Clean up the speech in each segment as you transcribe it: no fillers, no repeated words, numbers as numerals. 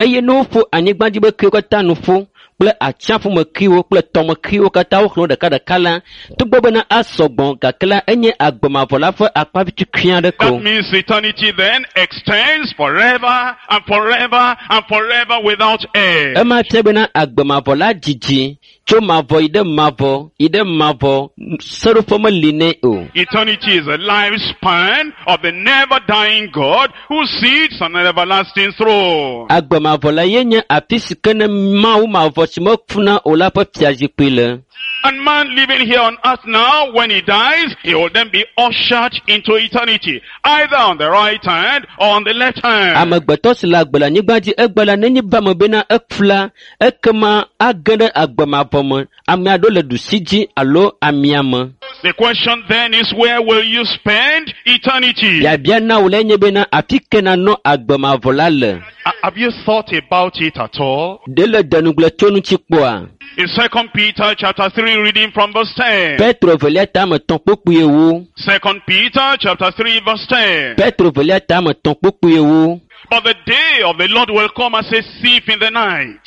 Eye ne woƒo anyigba dzi ƒe kewo katã nu ƒu kple atsiaƒumekliwo kple tɔmekliwo katã woxlẽ wo ɖekaɖeka la, togbɔ bena asɔ gbɔ gake la enye agbe mavɔ la ƒe akpa vi tukui aɖe ko. That means eternity then extends forever and forever and forever without end. Ema fia bena agbe mavɔ la dzidzi tso mavɔ yi ɖe mavɔ yi ɖe mavɔ seɖoƒe meli nɛ o. Eternity is a lifespan of the never dying God who sits on an everlasting throne. Agbe mavɔ la ye nye afi si ke ne Mawu mavɔ si mekuna o la ƒe fiazikpui le. And man living here on earth now, when he dies, he will then be ushered into eternity, either on the right hand or on the left hand. Amegbetɔ si le agbe le anyigba dzi egbe la nenye be ame bena eku la, ekema age ɖe agbe mavɔ me. Ame aɖewo le ɖusi dzi alo amia me. The question then is, where will you spend eternity? Biabia na wò lae nye bena afi ke nanɔ agbe mavɔ la le. Have you thought about it at all? Ɖe le denugble tso ŋuti kpɔa? In 2 Peter chapter 3, reading from verse 10. Petro velia tame tɔ̃ kpukpui ewo. 2 Peter chapter 3, verse 10. Petro velia tame tɔ̃ kpukpui ewo. But the day of the Lord will come as a thief in the night,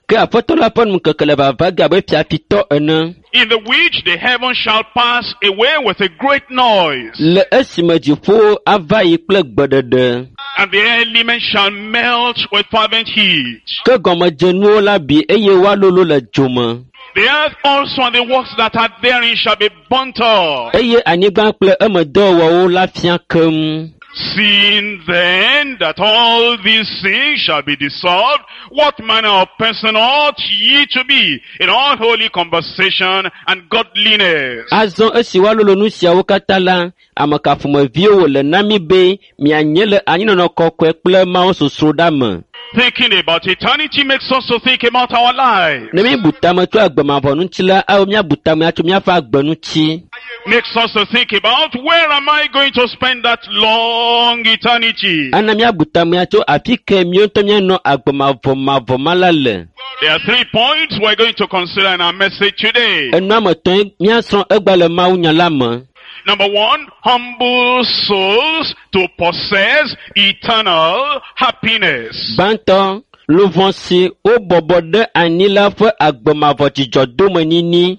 Ke aƒetɔ la ƒe ŋkeke le vava ge abe fiafitɔ ene. in the which the heavens shall pass away with a great noise, Le esime dziƒowo ava yi kple gbeɖeɖe. and the elements shall melt with fervent heat. Ke gɔmedzenuwo la bi eye woalolo le dzo me. The earth also and the works that are therein shall be burnt up. Eye anyigba kple eme dɔwɔwɔwo la fia keŋ. Seeing then that all these things shall be dissolved, what manner of person ought ye to be in all holy conversation and godliness? Azɔ esi woalolo nu siawo katã la, ame ka ƒomeviwo wòle na mí be mianye le anyinɔnɔ kɔkɔe kple mawusosroɖa me. Thinking about eternity makes us to think about our lives. Ne míebu tame tso agbe mavɔ ŋuti la, awɔ míabu tame atso míaƒe agbe ŋuti. Makes us to think about where am I going to spend that long eternity? Ana míabu tame atso afi ke míawo ŋutɔ míanɔ agbe mavɔ mavɔ ma la le. There are three points we're going to consider in our message today. Enu ame etɔ̃e míasrɔ̃ egba le mawunya la me. Number one, humble souls to possess eternal happiness. Gbãtɔ, luʋɔ si wobɔbɔ ɖe anyi la ƒe agbe mavɔ dzidzɔdomenyinyi.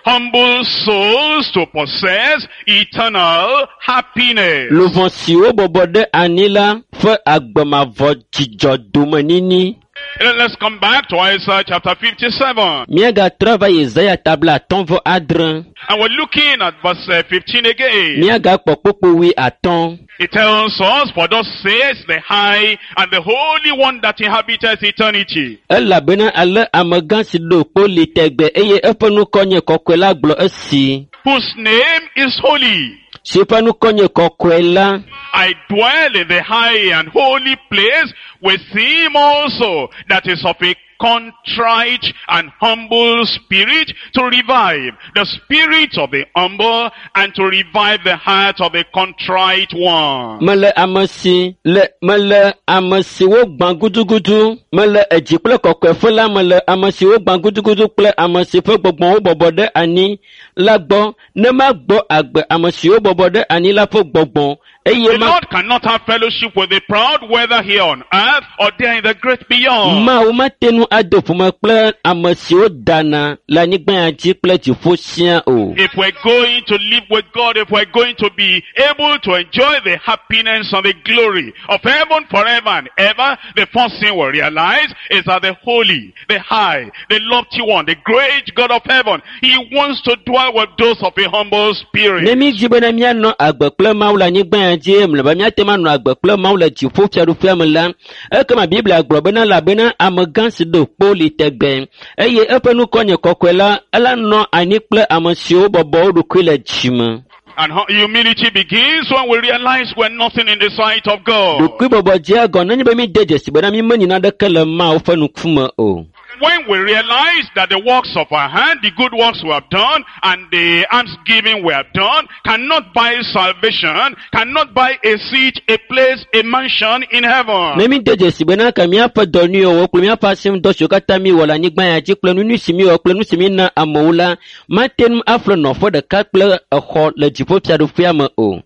Humble souls to possess eternal happiness. Luʋɔ si wobɔbɔ ɖe anyi la ƒe agbe mavɔ dzidzɔdomenyinyi. Let's come back to Isaiah chapter 57. Míagatrɔ va Yesaya ta blaatɔ̃ vɔ adre. And we're looking at verse 15 again. Míagakpɔ kpukpui wui atɔ̃. It tells us, for thus says the high and the holy one that inhabiteth eternity. Elabena ale amegã si ɖo kpo li tegbe eye eƒe ŋkɔ nye kɔkɔe la gblɔ esi. Whose name is holy. Si eƒe ŋkɔ nye kɔkɔe la, I dwell in the high and holy place with him also that is of a contrite and humble spirit, to revive the spirit of the humble and to revive the heart of the contrite one. Mele ame si le mele ame si wogbã gudugudu mele edzi kple kɔkɔeƒe la mele ame si wogbã gudugudu kple ame si ƒe gbɔgbɔwo bɔbɔ ɖe anyi la gbɔ ne magbɔ agbe ame siwo bɔbɔ ɖe anyi la ƒe gbɔgbɔ eye The ma Lord cannot have fellowship with the proud, whether here on earth or there in the great beyond. Mawu mate ŋu ado ƒome kple ame siwo dana le anyigba ya dzi kple dziƒo sia o. If we're going to live with God, if we're going to be able to enjoy the happiness and the glory of heaven forever and ever, the first thing we realize is that the holy, the high, the lofty one, the great God of heaven, he wants to dwell with those of a humble spirit. Ne mídi bena míanɔ agbe kple Mawu le anyigba ya dzi eye mlɔeba míate ŋu anɔ agbe kple Mawu le dziƒo fiaɖuƒea me la, ekema Biblia gblɔ bena elabena amegã si ɖo kpo li tegbe eye eƒe ŋkɔ nye kɔkɔe la, ela nɔ anyi kple ame siwo bɔbɔ wo ɖokui le dzime. And humility begins when we realize we're nothing in the sight of God. Ɖokuibɔbɔ dzea gɔ nenye be míde dzesi bena mímenyi naneke le Mawu ƒe ŋkume o. When we realize that the works of our hand, the good works we have done, and the almsgiving we have done, cannot buy salvation, cannot buy a seat, a place, a mansion in heaven. Ne míde dzesi bena ke míaƒe dɔ nyuiwo kple míaƒe asinudɔ siwo katã míewɔ le anyigba ya dzi kple nu nyui si míewɔ kple nu si míena amewo la, mate ŋu aƒle nɔƒe ɖeka kple exɔ le dziƒofiaɖuƒea me o.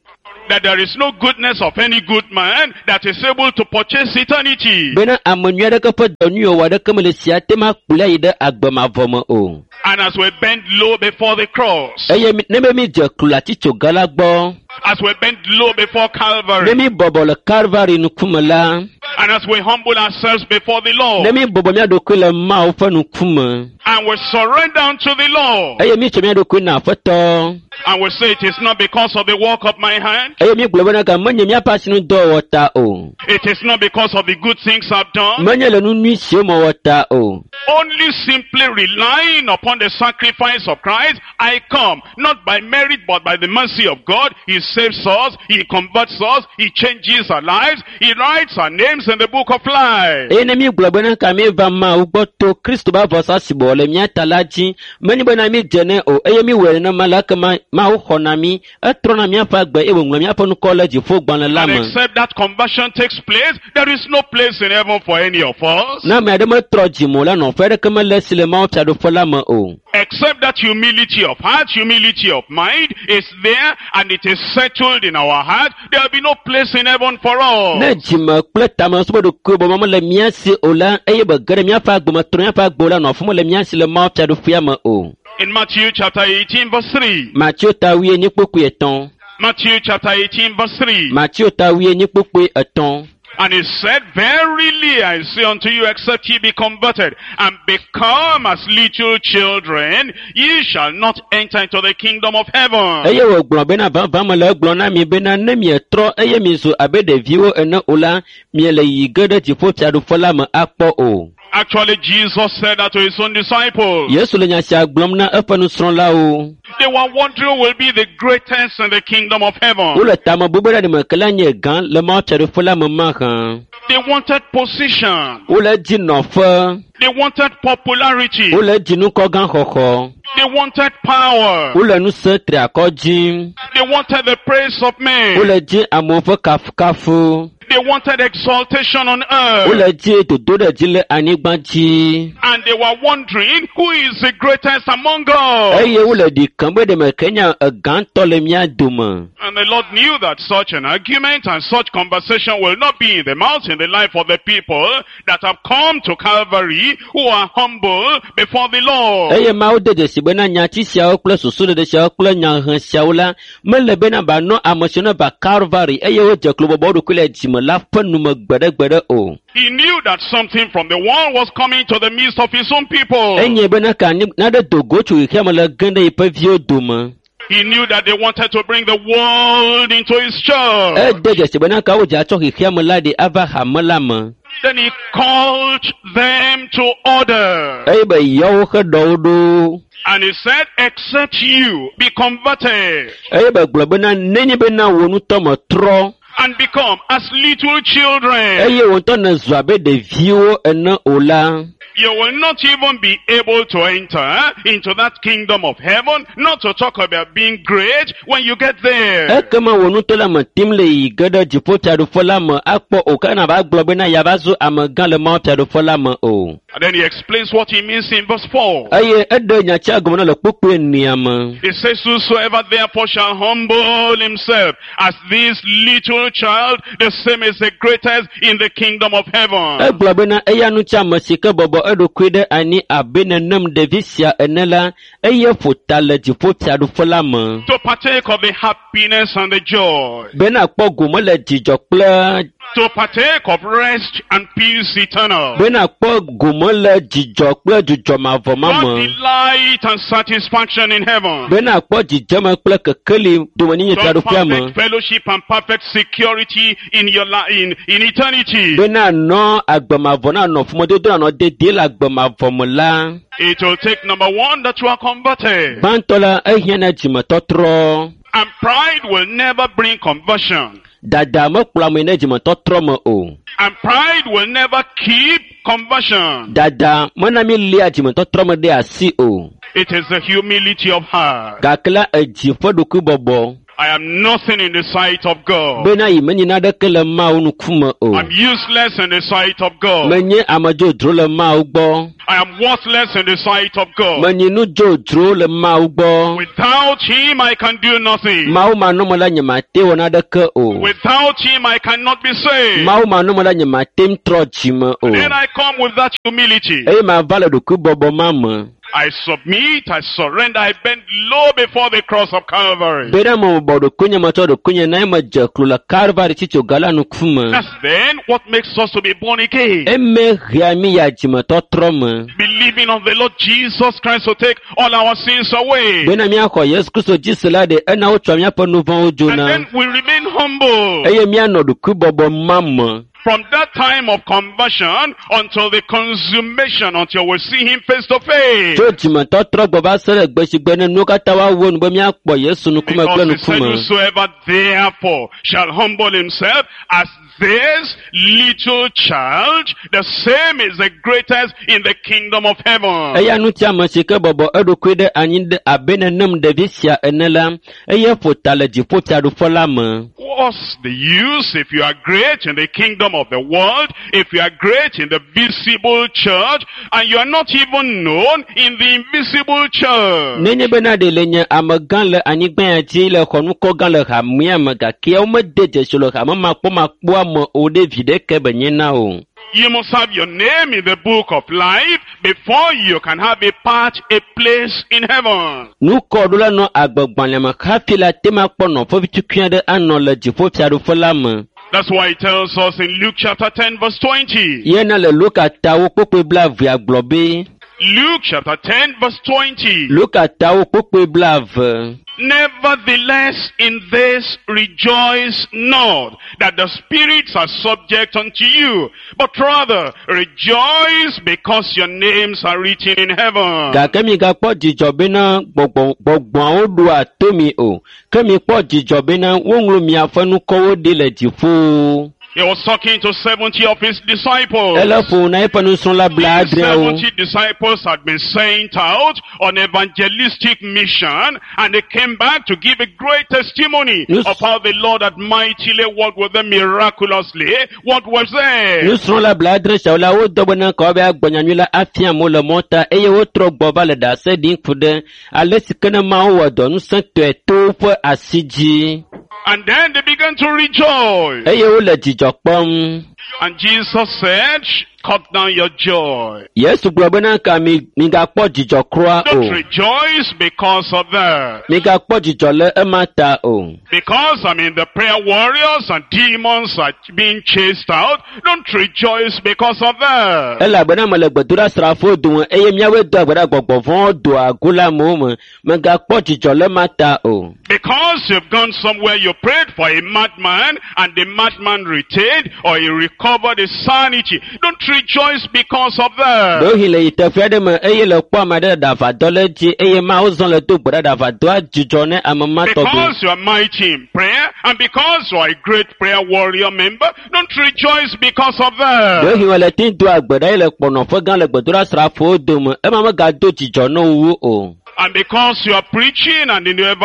That there is no goodness of any good man that is able to purchase eternity. Bena ame nyui aɖeke ƒe dɔ nyui wɔwɔ aɖeke mele si ate ŋu akplɔe ayi ɖe agbe mavɔ me o. And as we bend low before the cross, Eye mi- ne be mídze klo le atitsoga la gbɔ, as we bend low before ne Calvary, míbɔbɔ le Kalvari ŋkume la, and as we humble ourselves before the ne Lord, míbɔbɔ mía ɖokui le Mawu ƒe ŋkume, and we surrender unto the Lord, eye mítsɔ mía ɖokui na Aƒetɔ, and we say it is not because of the work of my hand, eye mígblɔ bena ga menye míaƒe asinudɔwɔwɔ ta o, it is not because of the good things I've done, menye le nu nyui siwo mewɔ ta o, only simply relying upon the sacrifice of Christ, I come, not by merit but by the mercy of God. He saves us, He converts us, He changes our lives, He writes our names in the book of life. Eye ne mígblɔ bena ka míeva Mawu gbɔ to Kristo ƒe avɔsa si bɔ le mía ta la dzi, menye bena mídze nɛ o, eye míwɔe nenema la, ekema Mawu xɔna mí, etrɔna míaƒe agbe eye wòŋlɔ míaƒe ŋkɔ le dziƒogbalẽ la And me. except that conversion takes place, there is no place in heaven for any of us. Ne ame aɖe metrɔ dzime o la, nɔƒe aɖeke mele esi le Mawu fiaɖuƒe la me o. Except that humility of heart, humility of mind is there and it is settled in our heart, there will be no place in heaven for us. Ne dzime kple tamesusuɖokuibɔbɔ mele mía si o la, eye be ge ɖe míaƒe agbe me trɔ míaƒe agbe o la, nɔƒe mele mía si le Mawu fiaɖuƒea me o. In Matthew chapter 18 verse 3. Mateo ta wuienyi kpukpui etɔ̃. Matthew chapter 18 verse 3. Mateo ta wuienyi kpukpui etɔ̃. And he said, Verily I say unto you, except ye be converted and become as little children, ye shall not enter into the kingdom of heaven. Eye wògblɔ bena vavã mele egblɔ na mi bena ne mietrɔ eye mizu abe ɖeviwo ene o la, miele yiyi ge ɖe dziƒofiaɖuƒe la me akpɔ o. Actually, Jesus said that to his own disciples. Yesu le nya sia gblɔm na eƒe nusrɔ̃lawo. They were wondering who will be the greatest in the kingdom of heaven. Wole tame bum be ɖe me ke la nye gã le Mawu fiaɖuƒe la me mahã. They wanted position. Wole dzi nɔƒe, They wanted popularity. wole dzi nukɔgã xɔxɔ, They wanted power. wole ŋusẽ triakɔ dzim, They wanted the praise of men. wole dzi amewo ƒe kafukafu, They wanted exaltation on earth. wole dzi dodo ɖe dzi le anyigba dzi. And they were wondering who is the greatest among us. Eye wole ɖi kem be ɖe me ke nye egãtɔ le mía dome. And the Lord knew that such an argument and such conversation will not be in the mouth, in the life of the people that have come to Calvary, who are humble before the Lord. Eye Mawu de dzesi bena nyati siawo kple susuɖeɖe siawo kple nyahe siawo la mele bena banɔ ame siwo ne va Calvary eye wodze klo bɔbɔ wo ɖokui le dzime la ƒe nume gbeɖegbeɖe o. He knew that something from the world was coming to the midst of his own people. Enye bena ka anyi naɖe do go tso xexea me le ge ɖe yiƒe viwo dome. He knew that they wanted to bring the world into his church. Ede dzesi bena ka wodze atsɔ xexea me la ɖi ava hame la me. Then he called them to order. Eye be yɔ woƒe ɖɔwo ɖo. And he said, except you be converted Eye be gblɔ bena nenye bena wò ŋutɔ metrɔ and become as little children, eye wò ŋutɔ nèzu abe ɖeviwo ene o la, you will not even be able to enter into that kingdom of heaven, not to talk about being great when you get there. Ekema wò ŋutɔ la me tim le yi ge ɖe dziƒofiaɖuƒe la me akpɔ o ke nava gblɔ bena yeava zu amegã le Mawu fiaɖuƒe la me o. And then he explains what he means in verse 4. Eye eɖe nyatsia gɔme na le kpukpui enea me. He says, Whosoever therefore shall humble himself as this little child, the same is the greatest in the kingdom of heaven. Egblɔ bena eya ŋuti ame si ke bɔbɔ eɖokui ɖe anyi abe nenem ɖevi sia ene la, eye ƒo ta le dziƒofiaɖuƒe la me. To partake of the happiness and the joy. Bena kpɔ gome le dzidzɔ kple To partake of rest and peace eternal. bena kpɔ gome le dzidzɔ kple dzudzɔ mavɔ ma God me. delight and satisfaction in heaven. Bena kpɔ dzidzeme kple kekeli domenyi To fiaɖuƒea me. perfect fellowship and perfect security in your life, in eternity. Bena nɔ agbemavɔ na nɔ ƒomedodo nanɔ dedie le agbemavɔ me la. It will take number one that you are converted. Gbãtɔ la ehiã na dzimetɔtrɔ. And pride will never bring conversion. Dada mekplɔ ame ɖe dzimetɔtrɔ me o. And pride will never keep conversion. Dada mena mi lia dzimetɔtrɔ me ɖe asi o. It is the humility of heart. Gake la edzi ƒe ɖokuibɔbɔ I am nothing in the sight of God. bena yi menyi naneke le Mawu ŋkume o. I'm useless in the sight of God. Menye ame dzodzro le Mawu gbɔ. I am worthless in the sight of God. Menyi nu dzodzro le Mawu gbɔ. Without Him, I can do nothing. Mawu manɔme la nyemate wɔ naneke o. Without Him, I cannot be saved. Mawu manɔme la nyemate ŋu trɔ dzime o. Then I come with that humility. Eye mava le ɖokuibɔbɔ ma me. I submit, I surrender, I bend low before the cross of Calvary. Bena mebɔbɔ ɖokuinye metsɔ ɖokuinye na eye medze klo le Kalvari tsitsoga la ŋkume. That's then what makes us to be born again. Eme hea mí ya dzimetɔtrɔ me. Believing on the Lord Jesus Christ to take all our sins away. Bena míaxɔ Yesu Kristo dzi se la ɖe ena wotsɔ míaƒe nu vɔ̃wo And dzona. then we remain humble. Eye míanɔ ɖokuibɔbɔ ma me. From that time of conversion until the consummation, until we see him face to face. Tso dzimetɔtrɔ gbɔ va se ɖe gbe si gbe ne nuwo katã woawo nu be míakpɔ Yesu ŋkume kple Because he said, ŋkume. whosoever therefore shall humble himself as this little child, the same is the greatest in the kingdom of heaven. Eya ŋuti ame si ke bɔbɔ eɖokui ɖe anyi ɖe abe nenem ɖevi sia ene la, eye ƒo ta le dziƒofiaɖuƒe la me. What's the use if you are great in the kingdom of the world, if you are great in the visible church, and you are not even known in the invisible church? Nenye bena ɖe le nye amegã le anyigba ya dzi le xɔ ŋkɔ gã le hamea me gake womede dzesi le hame makpɔmakpɔa me o ɖe vi ɖeke be nye na o. You must have your name in the book of life before you can have a part, a place in heaven. Nukɔɖola nɔ agbegbalẽ me hafi la te ma kpɔ nɔƒe vitukui aɖe anɔ le dziƒofiaɖuƒe la me. That's why it tells us in Luke chapter 10 verse 20. Yena le Luka tawo kpukpui blaevea gblɔ be Luke chapter 10 verse 20. Luka tawo kpukpui blaeve. Nevertheless, in this rejoice not, that the spirits are subject unto you, but rather rejoice because your names are written in heaven. Gake migakpɔ dzidzɔ bena gbɔgbɔ gbɔgbɔawo ɖoa to mi o. Ke mikpɔ dzidzɔ bena woŋlɔ miaƒe ŋkɔwo ɖi le dziƒo. He was talking to 70 of his disciples. Ele ƒo na eƒe nusrɔ̃la These blaadreawo. 70 disciples had been sent out on evangelistic mission, and they came back to give a great testimony of how the Lord had mightily worked with them miraculously. What was there? Nusrɔ̃la blaadre siawo la wodɔ bena ka woava gblɔ nyanyui la afia amewo le mɔta eye wotrɔ gbɔ va le ɖase ɖim ku ɖe ale si ke ne Mawu wɔ dɔ ŋusẽtɔe to woƒe asi dzi. And then they began to rejoice. Eye wole dzidzɔ kpɔm. And Jesus said, cut down your joy. Yesu gblɔ bena ka mi migakpɔ dzidzɔ kura Don't o. rejoice because of that. Migakpɔ dzidzɔ le ema ta o. Because I mean the prayer warriors and demons are being chased out. Don't rejoice because of that. Elabena mele gbedoɖasrafowo dome eye míawoe doa gbe ɖa gbɔgbɔ vɔ̃wo doa go le amewo me. Megakpɔ dzidzɔ le ema ta o. Because you've gone somewhere, you prayed for a madman and the madman retained or he recovered his sanity. Don't rejoice because of that. Ɖewohĩ le yi teƒe aɖe me eye le kpɔ ame aɖe le ɖaʋadɔ le edzi eye mawo zɔ le do gbe ɖa ɖaʋadɔa dzidzɔ ne ame ma tɔgbi. Because you are mighty in prayer and because you are a great prayer warrior member, don't rejoice because of that. Ɖewohĩ wòle te doa gbe ɖa eye le kpɔ nɔƒe gã le gbedoɖasrafowo dome ema megado dzidzɔ ne wo wu o. And because you are preaching and in the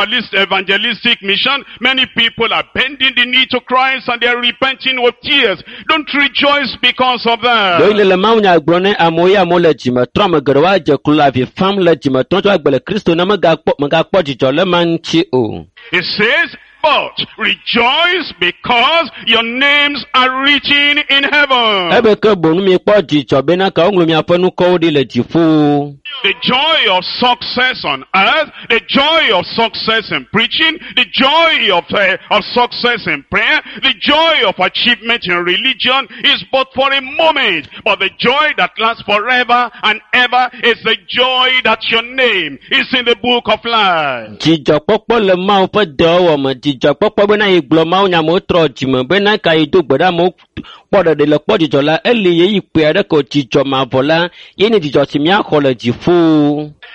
evangelistic mission, many people are bending the knee to Christ and they are repenting with tears. Don't rejoice because of Ɖewohĩ that. le le mawunya gblɔ ne amewo ye amewo le dzime trɔ ame geɖewo adze klo le avi fam le dzime trɔm tso agbe le Kristo ne megakpɔ megakpɔ dzidzɔ le ma ŋuti o. It says, but rejoice because your names are written in heaven. Ebe ke boŋ mikpɔ dzidzɔ bena ka woŋlɔ miaƒe ŋkɔwo ɖi le dziƒo. The joy of success on earth, the joy of success in preaching, the joy of success in prayer, the joy of achievement in religion is but for a moment. But the joy that lasts forever and ever is the joy that your name is in the book of life. Dzidzɔkpɔkpɔ le Mawu ƒe dɔwɔwɔ me. Dzidzɔkpɔkpɔ bena yi gblɔ Mawu nya amewo trɔ dzime bena ka yi do gbe ɖe amewo kpɔ ɖeɖe le kpɔ dzidzɔ la eli ɣeyiɣi kpui aɖe ko dzidzɔ mavɔ la ye nye dzidzɔ si míaxɔ le dziƒo.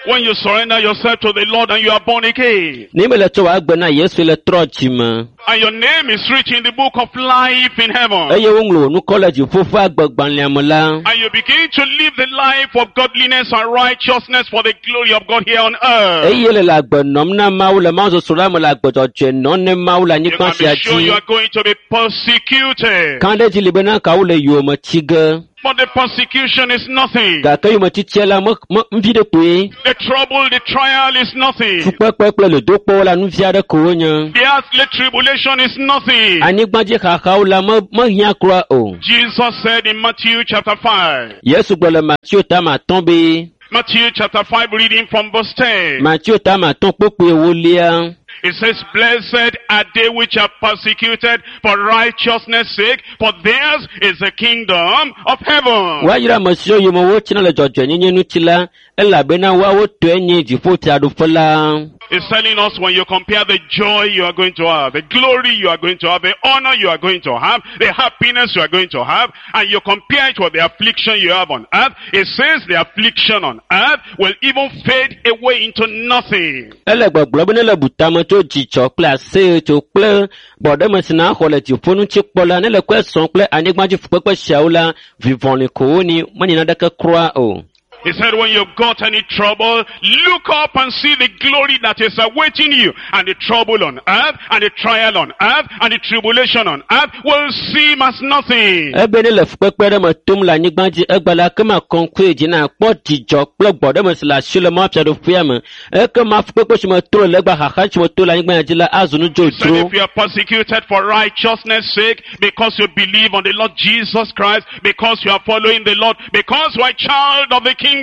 When you surrender yourself to the Lord and you are born again, Ne mele tsɔ wò agbe na Yesu le trɔ dzime and your name is written in the book of life in heaven, eye woŋlɔ wò ŋkɔ le dziƒo ƒe agbegbalẽa me la, and you begin to live the life of godliness and righteousness for the glory of God here on earth, eye le le agbe nɔm na Mawu le Mawu sosro la me le agbe dzɔdzɔe nɔm ne Mawu le you anyigba can sia be sure dzi. you are going to be persecuted. Kã ɖe edzi li bena kawo le yowòme tsi ge. But the persecution is nothing. Gake yometitsia la me me vi ɖe kpoe. The trouble, the trial is nothing. Fukpekpe kple dodokpɔwo la nu vi aɖe ko wonye. The earthly tribulation is nothing. Anyigbadzi xaxawo la me mehiã kura o. Jesus said in Matthew chapter 5, Yesu gblɔ le Mateo tame atɔ̃ be Matthew chapter 5 reading from verse 10. Mateo tame atɔ̃ kpukpui ewolia. It says, Blessed are they which are persecuted for righteousness' sake, for theirs is the kingdom of heaven. Woayra ame siwo yome wotsina le dzɔdzɔenyenye ŋuti la, elabena woawo tɔe nye dziƒofiaɖuƒe la. It's telling us when you compare the joy you are going to have, the glory you are going to have, the honor you are going to have, the happiness you are going to have, and you compare it with the affliction you have on earth, it says the affliction on earth will even fade away into nothing. Ele gbɔgblɔ be ne le bu tame tso dzidzɔ kple aseyetso kple gbɔɖeme si naxɔ le dziƒo ŋuti kpɔ la, ne le kɔe sɔm kple anyigbadzi fukpekpe siawo la, vivɔli ko woni, menye naneke kura o. He said when you've got any trouble, look up and see the glory that is awaiting you. And the trouble on earth, and the trial on earth, and the tribulation on earth will seem as nothing. Ebe ne le fukpekpe ɖe me tom le anyigba dzi egbe la, ekema kɔŋkɔe dzi na kpɔ dzidzɔ kple gbɔɖeme si le asi le Mawu fiaɖuƒea me. Ekema fukpekpe si me to le legba xaxa si me to le anyigba dzi la azu nu Said dzodzro. if you are persecuted for righteousness' sake, because you believe on the Lord Jesus Christ, because you are following the Lord, because you are a child of the kingdom,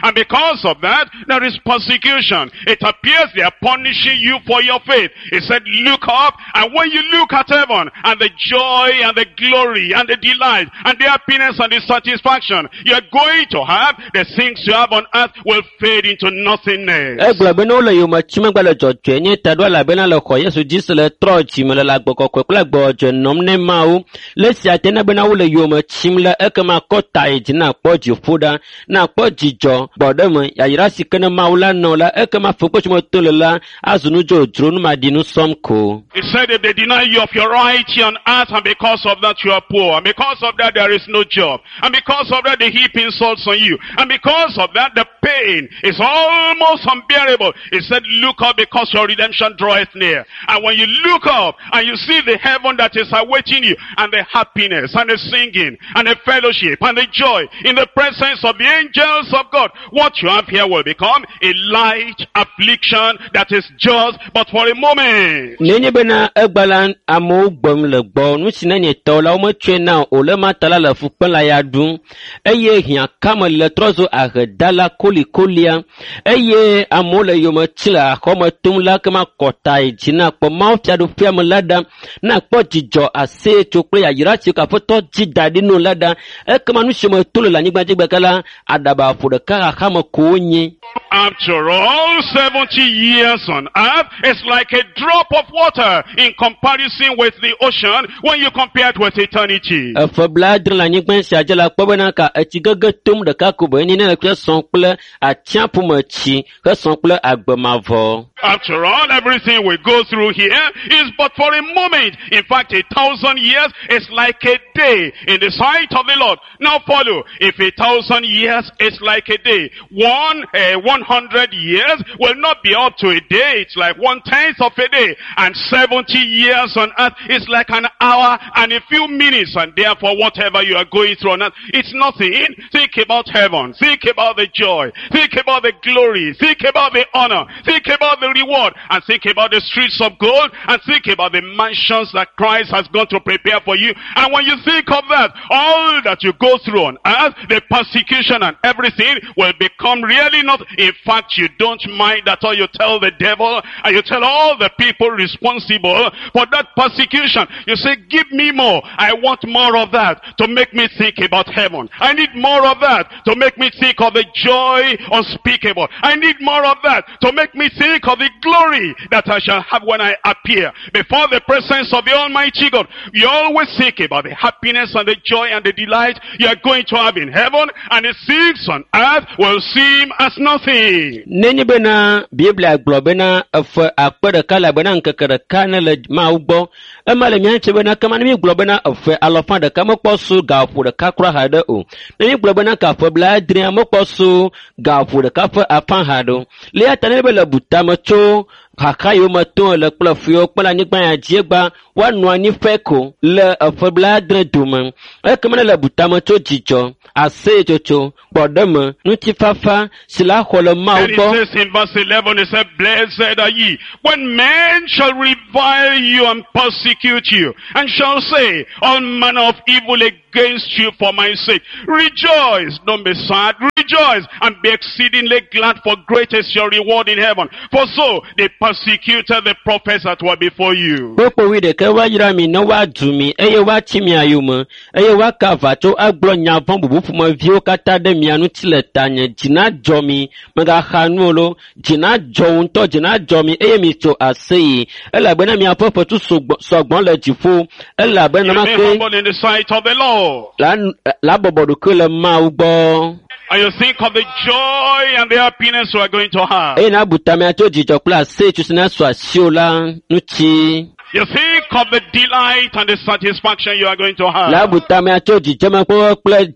and because of that, there is persecution. It appears they are punishing you for your faith. He said, look up, and when you look at heaven, and the joy and the glory and the delight and the happiness and the satisfaction you are going to have, the things you have on earth will fade into nothingness. Egblɔ be ne wole yome tsim egbe le dzɔdzɔenye ta ɖo elabena le xɔ Yesu dzi se le trɔ dzime le agbe kɔkɔe kple agbe dzɔdzɔe nɔm ne Mawu. Le esia te ne bena wole yome tsim la, ekema kɔ ta yi dzi nakpɔ dziƒo ɖa, nakpɔ dzidzɔ, gbɔɖeme, yayra si ke ne Mawu la nɔ la, ekema fukpe si me to le la azu nu dzodzro, numaɖinu sɔm ko. He said if they deny you of your right here on earth, and because of that you are poor, and because of that there is no job, and because of that they heap insults on you, and because of that the pain is almost unbearable. He said look up because your redemption draweth near. And when you look up and you see the heaven that is awaiting you, and the happiness, and the singing, and the fellowship, and the joy in the presence of the angels of God, what you have here will become a light affliction that is just but for a moment. Nenye bena egbe la amewo gbem le gbɔ, nu si ne nye tɔ la wometsɔe na o le ma ta la le fukpem le ya ɖum eye hiãkame le trɔ zu ahedala kolikolia eye amewo le yome tsi le axɔme tom la kema kɔta yi dzi nakpɔ Mawu fiaɖuƒea me la ɖa, nakpɔ dzidzɔ aseyetso kple yayra si ke Aƒetɔ dzi da ɖi no la ɖa. Ekema nu si me to le le anyigba dzi gbeka la, aɖaba ƒo ɖeka xaxame ko wonye. After all, 70 years on earth is like a drop of water in comparison with the ocean when you compare it with eternity. Efe blaadre le anyigba sia dzi la kpɔ bena ka etsi gege tom ɖeka ko be enye ne le kple sɔ̃ kple atsiaƒu me tsi hesɔ̃ kple agbe mavɔ. After all, everything we go through here is but for a moment. In fact, 1,000 years is like a day in the sight of the Lord. Now follow. If 1,000 years is like a day, 100 years will not be up to a day. It's like 1/10 of a day. And 70 years on earth is like an hour and a few minutes. And therefore, whatever you are going through on earth, it's nothing. Think about heaven. Think about the joy. Think about the glory. Think about the honor. Think about the reward. And think about the streets of gold. And think about the mansions that Christ has gone to prepare for you. And when you think of that, all that you go through on earth, the persecution and everything will become really not. In fact, you don't mind at all. You tell the devil and you tell all the people responsible for that persecution. You say, give me more. I want more of that to make me think about heaven. I need more of that to make me think of the joy unspeakable. I need more of that to make me think of the glory that I shall have when I appear before the presence of the Almighty God. You always think about the happiness and the joy and the delight you are going to have in heaven, and the things on earth will seem as nothing. Nenye bena Biblia gblɔ bena efe akpe ɖeka le bena ŋkeke ɖeka ne le Mawu gbɔ. Ema le mía ŋuti bena kema ne mígblɔ bena efe alɔfa ɖeka mekpɔ su gaƒo ɖeka kura haɖe o. Ne mígblɔ bena gaƒe blaadrea mekpɔ su gaƒo ɖeka ƒe afã haɖe o. Le eya ta ne be le bu tame tso Xaxa yiwo me tom le kple fu yiwo kpem le anyigba ya dzi egba woanɔ anyi ƒe ko le eƒe blaadre dome. Ekema ne le butame tso dzidzɔ, aseyetsotso, gbɔɖeme, ŋutifafa si la xɔ le Mawu Then he gbɔ. says in verse 11, he said, Blessed are ye when men shall revile you and persecute you, and shall say all manner of evil against you for my sake. Rejoice, don't be sad, rejoice and be exceedingly glad, for great is your reward in heaven. For so they persecuted the prophets that were before you. Kpokpo wuiɖekɛ woayra mi ne woadu mi eye woatsi mia yome eye woaka aʋa tso agblɔ nya vɔ̃ bubu ƒomeviwo katã ɖe mia ŋuti le tanye. Dzi nadzɔ mi, mègaxa nu o lo. Dzi nadzɔ wo ŋutɔ, dzi nadzɔ mi eye mitso aseye elabena miaƒe fetu sɔgbɔ le dziƒo elabena You be nenema ke humble in the sight of the Lord. la la bɔbɔ ɖokui le Mawu gbɔ. And you think of the joy and the happiness you are going to have. Eye nabu tamea tso dzidzɔ kple aseyetso si nasu asiwò la ŋuti. You think of the delight and the satisfaction you are going to have. La bu tamea tso dzidzemekpɔkpɔ kple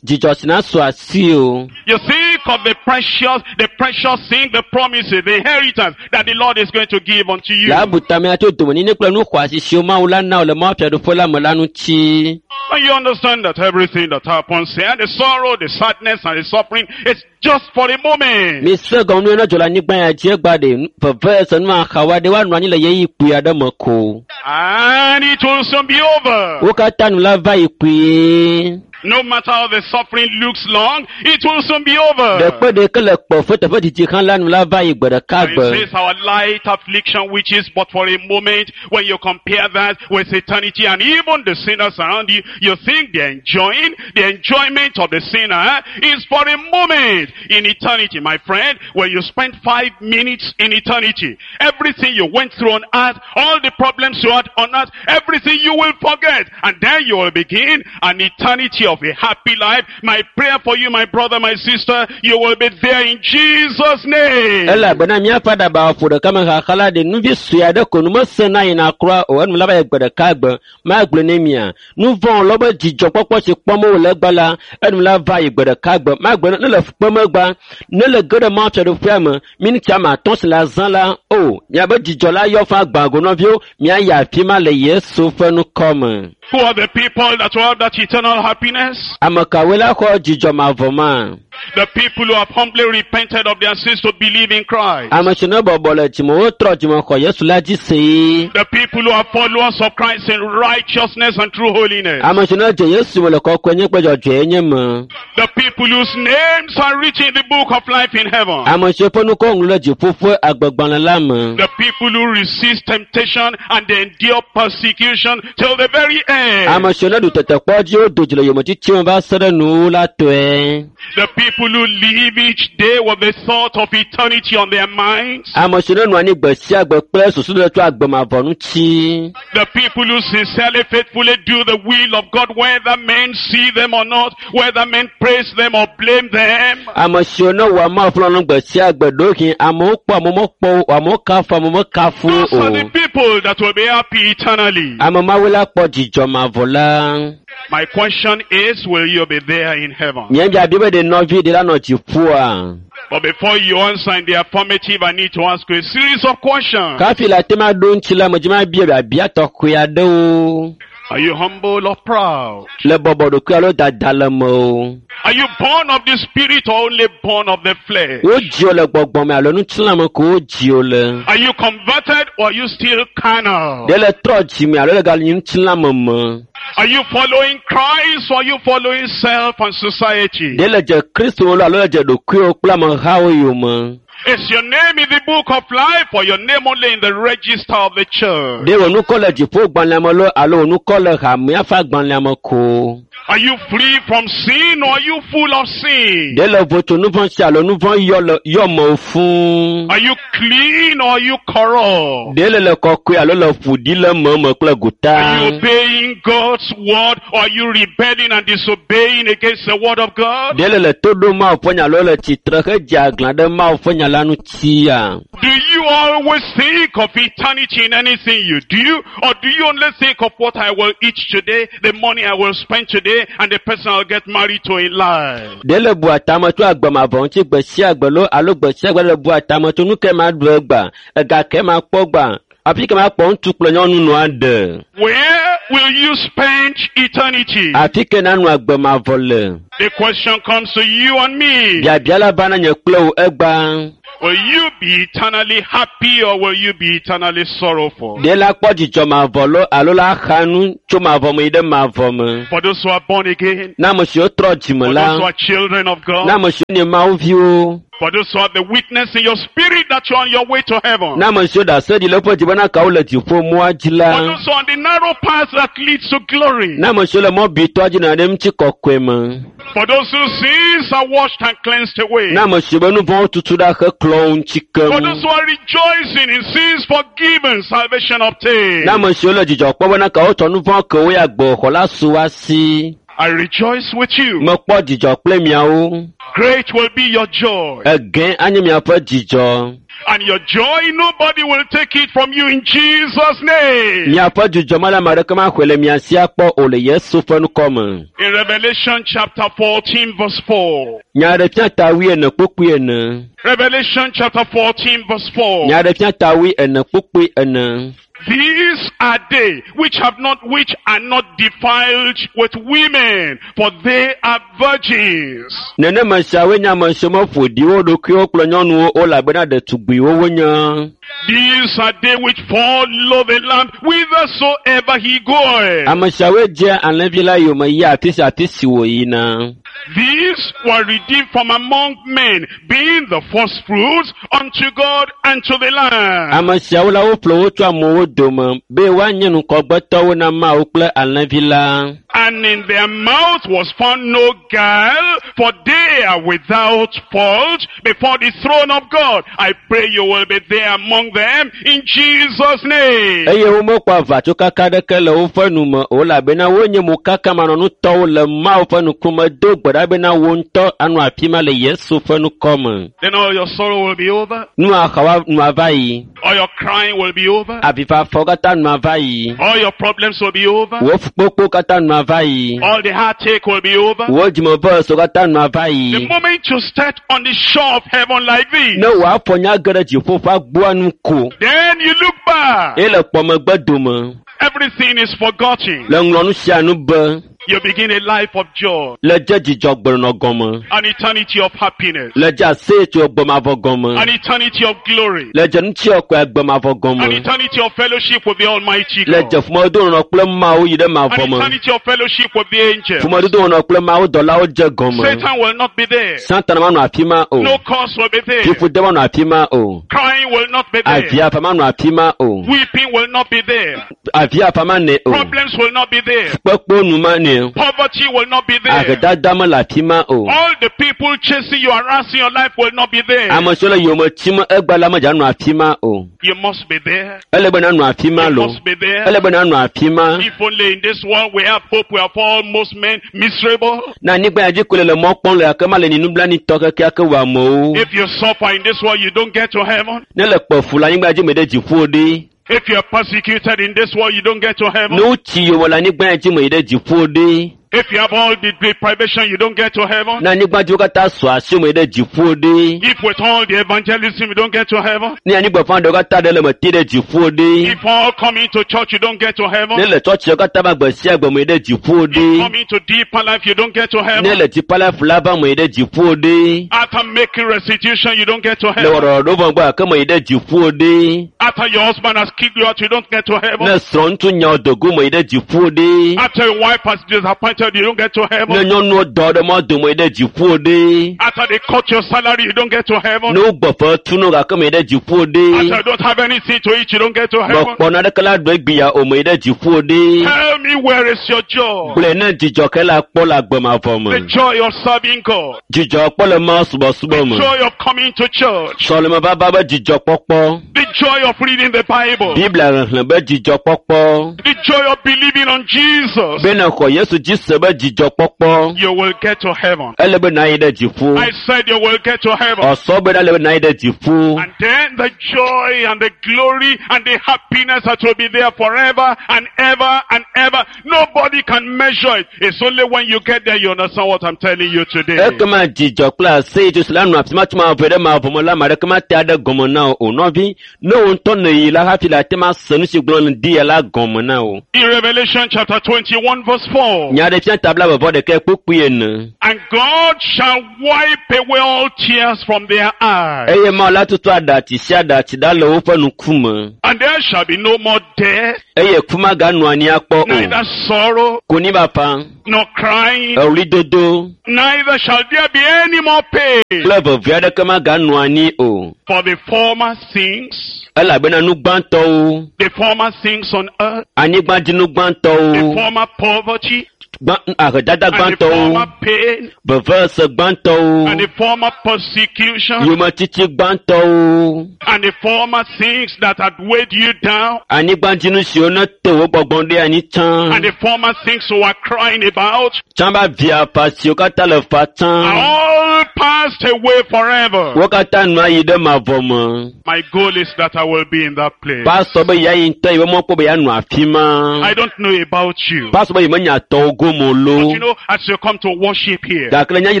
dzidzɔ si nasu asiwò. You think of the precious thing, the promises, the inheritance that the Lord is going to give unto you. La bu tamea tso domenyinyi kple nu xɔasi siwo Mawu la na wò le Mawu fiaɖuƒe la me la ŋuti. And you understand that everything that happens here, the sorrow, the sadness, and the suffering, is just for a moment. Mise gɔme nu yi ne dzɔ le anyigba ya dzi egba ɖe veve se nu axawoa ɖe woanɔ anyi le ɣeyiɣi kpui aɖe me ko. And it will soon be over. Wo katã nu la va yi kpuie. No matter how the suffering looks long, it will soon be over. Ɖekpe ɖeke le kpɔfe teƒe didi hã la nu la va yi gbe ɖeka And gbe. it says our light affliction, which is but for a moment, when you compare that with eternity and even the sinners around you, you think they're enjoying, the enjoyment of the sinner is for a moment in eternity. My friend, when you spend 5 minutes in eternity, everything you went through on earth, all the problems you had on earth, everything you will forget. And then you will begin an eternity of a happy life. My prayer for you, my brother, my sister, you will be there in Jesus' name. Elabena míaƒe aɖabawo ƒo ɖeka me xaxa la ɖe nuvi sue aɖe ko nu mesena yina kura o enu la va yi gbe ɖeka gbe magblɔe ne mia. Nu vɔ̃ lɔ be dzidzɔkpɔkpɔ si kpɔm wole egba la enu la va yi gbe ɖeka gbe magblɔe ne le kpem egba ne le ge ɖe Mawu fiaɖuƒea me miniti ame atɔ̃ si le azã la o miabe dzidzɔ la yɔ fã gbã go nɔviwo miayi afi ma le Yesu ƒe ŋkɔ me. Who are the people that will have that eternal happiness? Ame kawoe la xɔ dzidzɔ mavɔ ma? The people who have humbly repented of their sins to believe in Christ. Ame si ne bɔbɔ le dzime wotrɔ dzime xɔ Yesu la dzi see. The people who are followers of Christ in righteousness and true holiness. Ame si ne dze Yesu me le kɔkɔenye kple dzɔdzɔenye me. The people whose names are written in the book of life in heaven. Ame siwo ƒe ŋkɔ ŋlɔ ɖe dziƒo ƒe agbegbalẽ la me. The people who resist temptation and they endure persecution till the very end. Ame siwo ne ɖu tetekpɔ dzi wodo dzi le yometiti me va se ɖe nuwuwu la tɔe. The people who live each day with the thought of eternity on their minds. Ame siwo ne nɔ anyi gbe sia gbe kple susu ɖe tso agbemavɔ ŋuti. The people who sincerely, faithfully do the will of God, whether men see them or not, whether men praise them or blame them. Ame siwo ne wɔa Mawu ƒe lɔlɔ̃nu gbe sia gbe ɖewohĩ amewo kpɔ amewo mekpɔ o, amewo kafu amewo mekafu Those o. are the people that will be happy eternally. Ame mawoe la kpɔ dzidzɔ mavɔ la. My question is, will you be there in heaven? Nye biabia be ɖe nɔvi ɖe la nɔ dziƒoa? But before you answer in the affirmative, I need to ask you a series of questions. Kafi le ate ma ɖo ŋuti la, medzi ma bia biabia tɔxɛ aɖewo. Are you humble or proud? Le bɔbɔ ɖokui alo dada le me o. Are you born of the spirit or only born of the flesh? Wodzi wo le gbɔgbɔ me alo ŋutilã me ko wodzi wo le. Are you converted or are you still carnal? Ɖe le trɔ dzime alo le ganyi ŋutilã me me. Are you following Christ or are you following self and society? Ɖe le dze Kristo lo alo le dze ɖokuiwo kple amehawo yome. Is your name in the book of life or your name only in the register of the church? Ɖe wò ŋkɔ le dziƒogbalẽa me lo alo wò ŋkɔ le hamea ƒe agbalẽa me ko. Are you free from sin or are you full of sin? Ɖe le vo tso nu vɔ̃ si alo nu vɔ̃ yɔ le yɔ me fũu. Are you clean or are you corrupt? Ɖe le le kɔkɔe alo le ƒo ɖi le me me kple gota. Are you obeying God's word or are you rebelling and disobeying against the word of God? Ɖe le le to ɖom Mawu ƒe nya alo le tsitre hedze aglã ɖe Mawu ƒe nya la la ŋutia? Do you always think of eternity in anything you do? Or do you only think of what I will eat today, the money I will spend today, and the person I'll get married to in life? Ɖe le bua tame tso agbemavɔ ŋuti gbe sia gbe loo alo gbe sia gbe le bua tame tso nu ke ma ɖu egbea, ega ke ma kpɔ gbea, afi ke ma kpɔ ŋutsu kple nyɔnu nɔa ɖe. Where will you spend eternity? Afi ke nanɔ agbemavɔ le. The question comes to you and me. Biabia la va na nye kple wò egbea. Will you be eternally happy or will you be eternally sorrowful? Ɖe la kpɔ dzidzɔ mavɔ loo alo la xa nu tso mavɔ me yi ɖe mavɔ me. For those who are born again, Na ame siwo trɔ dzime for la, those who are children of na God, ame siwo nye Mawu viwo, for those who have the witness in your spirit that you're on your way to heaven, na ame siwo ɖase ɖi le woƒe dzi bena kawo le dziƒo mɔa dzi for la, those who are on the narrow path that leads to glory, na ame siwo le mɔ bitɔa dzi nɔ ɖe ŋuti kɔkɔe me, for those whose sins are washed and cleansed away, na ame siwo be nu vɔ̃wo tutu ɖa heklɔ wo ŋuti for keŋ, those who are rejoicing in sins forgiven, salvation obtained. na ame siwo le dzidzɔ kpɔm bena kawo tsɔ nu vɔ̃ ke wo ya gbɔxɔ la su wa si. I rejoice with you. Mekpɔ dzidzɔ kple miawo. Great will be your joy. Egẽ anye miaƒe dzidzɔ. And your joy, nobody will take it from you in Jesus' name. Miaƒe dzidzɔ mele ame aɖeke maxɔe le mia si akpɔ o le Yesu ƒe ŋkɔ me. In Revelation chapter 14 verse 4. Nyaɖefia ta wuiene kpukpui ene. Revelation chapter 14 verse 4. Nyaɖefia ta wuiene kpukpui ene. These are they which have not, which are not defiled with women, for they are virgins. Nenema siawoe nye ame siwo meƒo ɖi wo ɖokuiwo kple nyɔnuwo o elabena ɖetugbiwo wonye. These are they which follow the Lamb whithersoever he goeth. Ame siawoe dzea alẽvi la yome yia afi sia afi si wòyina. These were redeemed from among men, being the first fruits unto God and to the Lamb. Ame siawo la woƒle wo tso amewo dome be woanye ŋkɔgbetɔwo na Mawu kple alẽvi la. And in their mouth was found no guile, for they are without fault before the throne of God. I pray you will be there among them in Jesus' name. Eye womekpɔ aʋatsokaka aɖeke le woƒe nu me o elabena wonye mokakamɔnutɔwo le Mawu ƒe ŋkume do gbe ɖa bena wo ŋutɔ anɔ afi ma le Yesu ƒe ŋkɔ me. Then all your sorrow will be over, Nua xawa nua va yi, all your crying will be over, avifafawo katã nua va yi, all your problems will be over, wò fukpekpewo katã nua va yi, all the heartache will be over. wò dzimeveso katã nua va The yi. moment you start on the shore of heaven like this, Ne wò afɔ nya ge ɖe dziƒo ƒe agboa nu ko then you look back. eye le kpɔ megbe dome Everything is forgotten. le ŋlɔ nu sia nu be You begin a life of joy, le dze dzidzɔgbenɔnɔ gɔme, an eternity of happiness, le dze aseyetso gbemavɔ gɔme. an eternity of glory, le dze ŋutiɔkɔe agbemavɔ an gɔme eternity of fellowship with the Almighty le God, dze ƒomedodo kple Mawu yi ɖe an mavɔ me eternity of fellowship with the angels. ƒomedodo kple Mawu dɔlawo dze gɔme Satan will not be there. Satana manɔ afi ma o No curse will be there. fiƒode manɔ afi ma o Crying will not be there. aviafa manɔ afi ma o Weeping will not be there. aviafa manɛ o Problems will not be there. kpekpewo nu manɛ o Poverty will not be there. ahedada mele afi ma o All the people chasing you, harassing your life will not be there. ame siwo le yome tim egba la medza nɔ afi ma o You must be there. ele be nanɔ afi ma You lo must be there. ele be nanɔ afi ma If only in this world we have hope, we are almost men miserable. na anyigba ya dzi ko le le mɔ kpɔm le gake ma le nublanuitɔ kekeake wɔ amewo If you suffer in this world, you don't get to heaven. ne le kpe fu le anyigba dzi me ɖe dziƒo ɖe If you are persecuted in this world, you don't get to heaven. ne wotsi yome le anyigba ya dzi me yi ɖe dziƒo ɖe If you have all the deprivation, you don't get to heaven. ne anyigba dziwo katã sɔ asi me yi ɖe dziƒo ɖe If with all the evangelism, you don't get to heaven. ne anyigba fã ɖewo katã ɖe le me te ɖe dziƒo ɖe If all coming to church, you don't get to heaven. ne le tsɔtsiwo katã va gbe sia gbe me yi ɖe dziƒo ɖe Coming to deeper life, you don't get to ne heaven. le dzipa la fu la va me yi ɖe dziƒo ɖe After making restitution, you don't get to le heaven. wɔɖɔɖɔ vɔ gbɔ gake me yi ɖe dziƒo ɖe After your husband has kicked you out, you don't get to ne heaven. srɔ̃ ŋutsu nya dogo me yi ɖe dziƒo ɖe After your wife has disappointed, you don't get to ne heaven. nyɔnuwo dɔ ɖe mɔ dome yi ɖe dziƒo ɖe After they cut your salary, you don't get to heaven. ne wogbɔ fe tu no gake me yi ɖe dziƒo ɖe After you don't have anything to eat, you don't get to heaven. mekpɔ naneke la ɖo egbea o me yi ɖe dziƒo ɖe Tell me where is your joy? gblɔe ne dzidzɔ ke la kpɔ le agbemavɔ The me joy of serving God. dzidzɔ kpɔ le Mawu subɔsubɔ me Joy of coming to church. sɔleme vava be dzidzɔ kpɔkpɔ The joy of reading the Bible. Biblia xexlẽ be dzidzɔ kpɔkpɔ The joy of believing on Jesus. be ne xɔ Yesu dzi se se be dzidzɔkpɔkpɔ You will get to heaven. Ele be na yi ɖe dziƒo. I said you will get to heaven. Ɔsɔ be ele be na yi ɖe dziƒo. And then the joy and the glory and the happiness that will be there forever and ever and ever. Nobody can measure it. It's only when you get there you understand what I'm telling you today. Ekema dzidzɔ kple aseyetso si la nɔ afi ma tso mavɔ ɖe mavɔ me la, ame aɖeke mate aɖe gɔme na wò o. Nɔvi, ne wò ŋutɔ nèyi la hafi le ate ma se nu si gblɔm nèdi ya la gɔme na wò. In Revelation chapter 21 verse 4. Nyaɖeɖefia ta 21 kpukpui 4. And God shall wipe away all tears from their eyes. Eye Mawu la tutu aɖatsi sia aɖatsi ɖa le woƒe ŋkume. And there shall be no more death, Eye ku maganɔ anyi akpɔ o. neither sorrow, Konyifafa, nor crying, eɣlidodo neither shall there be any more pain. Kple veve aɖeke maganɔ anyi o. For the former things, Elabena nu gbãtɔwo, the former things on earth, anyigbadzinu the gbãtɔwo, former poverty, gbã, ahedada and the gbãtɔwo, former pain, vevese gbãtɔwo, and the former persecution, yometiti gbãtɔwo, and the former things that had weighed you down, anyigbadzinu siwo nete wò gbɔgbɔ ɖe anyi tsã, and the former things you were crying about, tsã be avia fa siwo katã le fa tsã, are all passed away forever. Wo katã nu ayi ɖe mavɔ me. My goal is that I will be in that place. Pastor be yeayi ŋutɔ yi be mɔkpɔ be yeanɔ afi ma. I don't know about you. Pastor be yemenya tɔwo gome o But lo. you know, as you come to worship here, Gake le nyanyi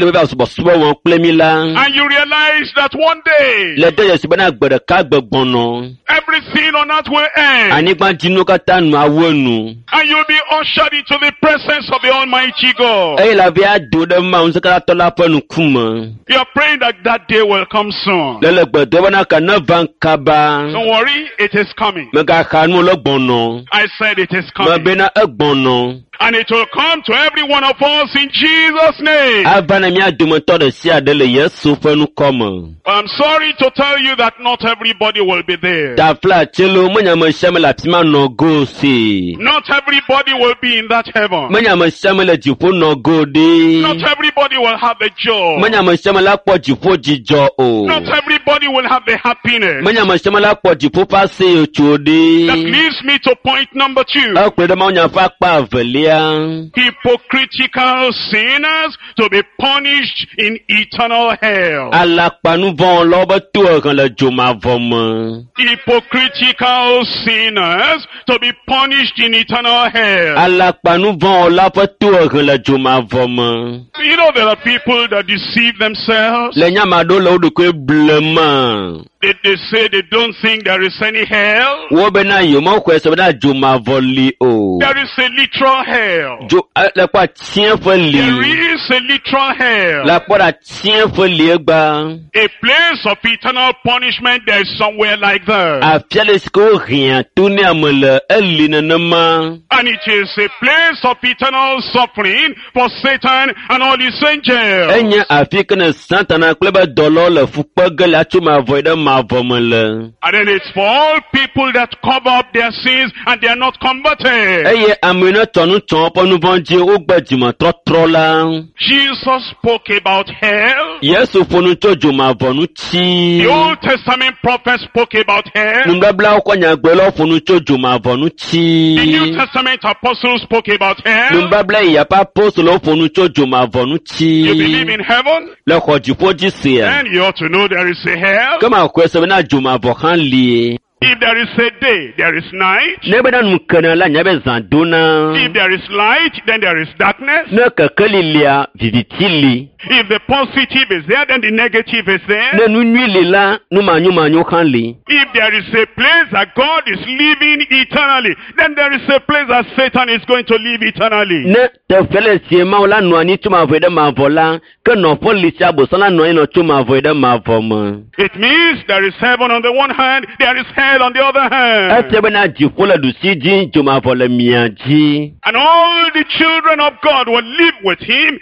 le be va subɔsubɔ wɔm kple mi la, and you realize that one day, le de dzesi bena gbe ɖeka gbe gbɔnɔ, everything on earth will end, anyigbadzinu katã nu awu enu. And you'll be ushered into the presence of the Almighty God. Eye la vi ado ɖe Mawu ŋusẽkatãtɔ la ƒe ŋkume. You are praying that that day will come soon. Le le gbe dom bena ke neva kaba. Don't worry, it is coming. Megaxa nu le gbɔnɔ. I said it is coming. Mebena egbɔnɔ. And it will come to every one of us in Jesus' name. Ava na mía dometɔ ɖe sia ɖe le Yesu ƒe ŋkɔ me. I'm sorry to tell you that not everybody will be there. Tafla tselo menye ame sia ame le afi ma nɔ go si. Not everybody will be in that heaven. Menye ame sia ame le dziƒo nɔ go ɖi. Not everybody will have the joy. Menye ame sia ame la kpɔ dziƒo dzidzɔ o. Not everybody will have the happiness. Menye ame sia ame la kpɔ dziƒo ƒe aseyetso That ɖi. leads me to point number 2. Ekplɔe ɖe mawunya ƒe akpa evelia. Hypocritical sinners to be punished in eternal hell. Alakpanuvɔwɔlawo be tohehe le dzomavɔ me. Hypocritical sinners to be punished in eternal hell. Alakpanuvɔwɔla ƒe tohehe le dzomavɔ me. You know there are people that deceive themselves. Le nya ame aɖewo le wo ɖokui blema. They say they don't think there is any hell. Wo bena yewomexɔe se bena dzomavɔ li o. There is a literal hell. Dzo le kpɔ atiẽƒe li. There is a literal hell. Le kpɔ ɖe atiẽƒe li egba. A place of eternal punishment, there is somewhere like that. Afia le si ke wohiã to ne ame le eli nenema. And it is a place of eternal suffering for Satan and all his angels. Enye afi ke ne Satana kple be dɔlawo le fu kpe ge le atso mavɔ yi ɖe mavɔ me le. And then it's for all people that cover up their sins and they are not converted. Eye ame yi ne tɔ nu tsɔ woƒe nu vɔ̃ dzi wogbe dzimetɔtrɔ la. Jesus spoke about hell. Yesu ƒo nu tso dzomavɔ ŋuti. The Old Testament prophets spoke about hell. Nubablawo ƒe nyagblɔlawo ƒo nu tso dzomavɔ ŋuti. The New Testament apostles spoke about hell. Nubabla yeyea ƒe apostolowo ƒo nu tso dzomavɔ ŋuti. You believe in heaven? Le xɔ dziƒo dzi sia. Then you ought to know there is a hell. Ke maxɔe se bena dzomavɔ hã li. If there is a day, there is night. Ne bena nu kena la, nya be zã dona. If there is light, then there is darkness. Ne kekeli lia, viviti li. If the positive is there, then the negative is there. Ne nu nyui li la, nu manyomanyo hã li. If there is a place that God is living eternally, then there is a place that Satan is going to live eternally. Ne teƒe le sie Mawu la nɔ anyi tso mavɔ yi ɖe mavɔ la, ke nɔƒe li sia Abosam la nɔ anyi nɔ tso mavɔ yi ɖe mavɔ me. It means there is heaven on the one hand, there is hell on the other hand. Efia bena dziƒo le ɖusi dzi, dzomavɔ le mia dzi. And all the children of God will live with him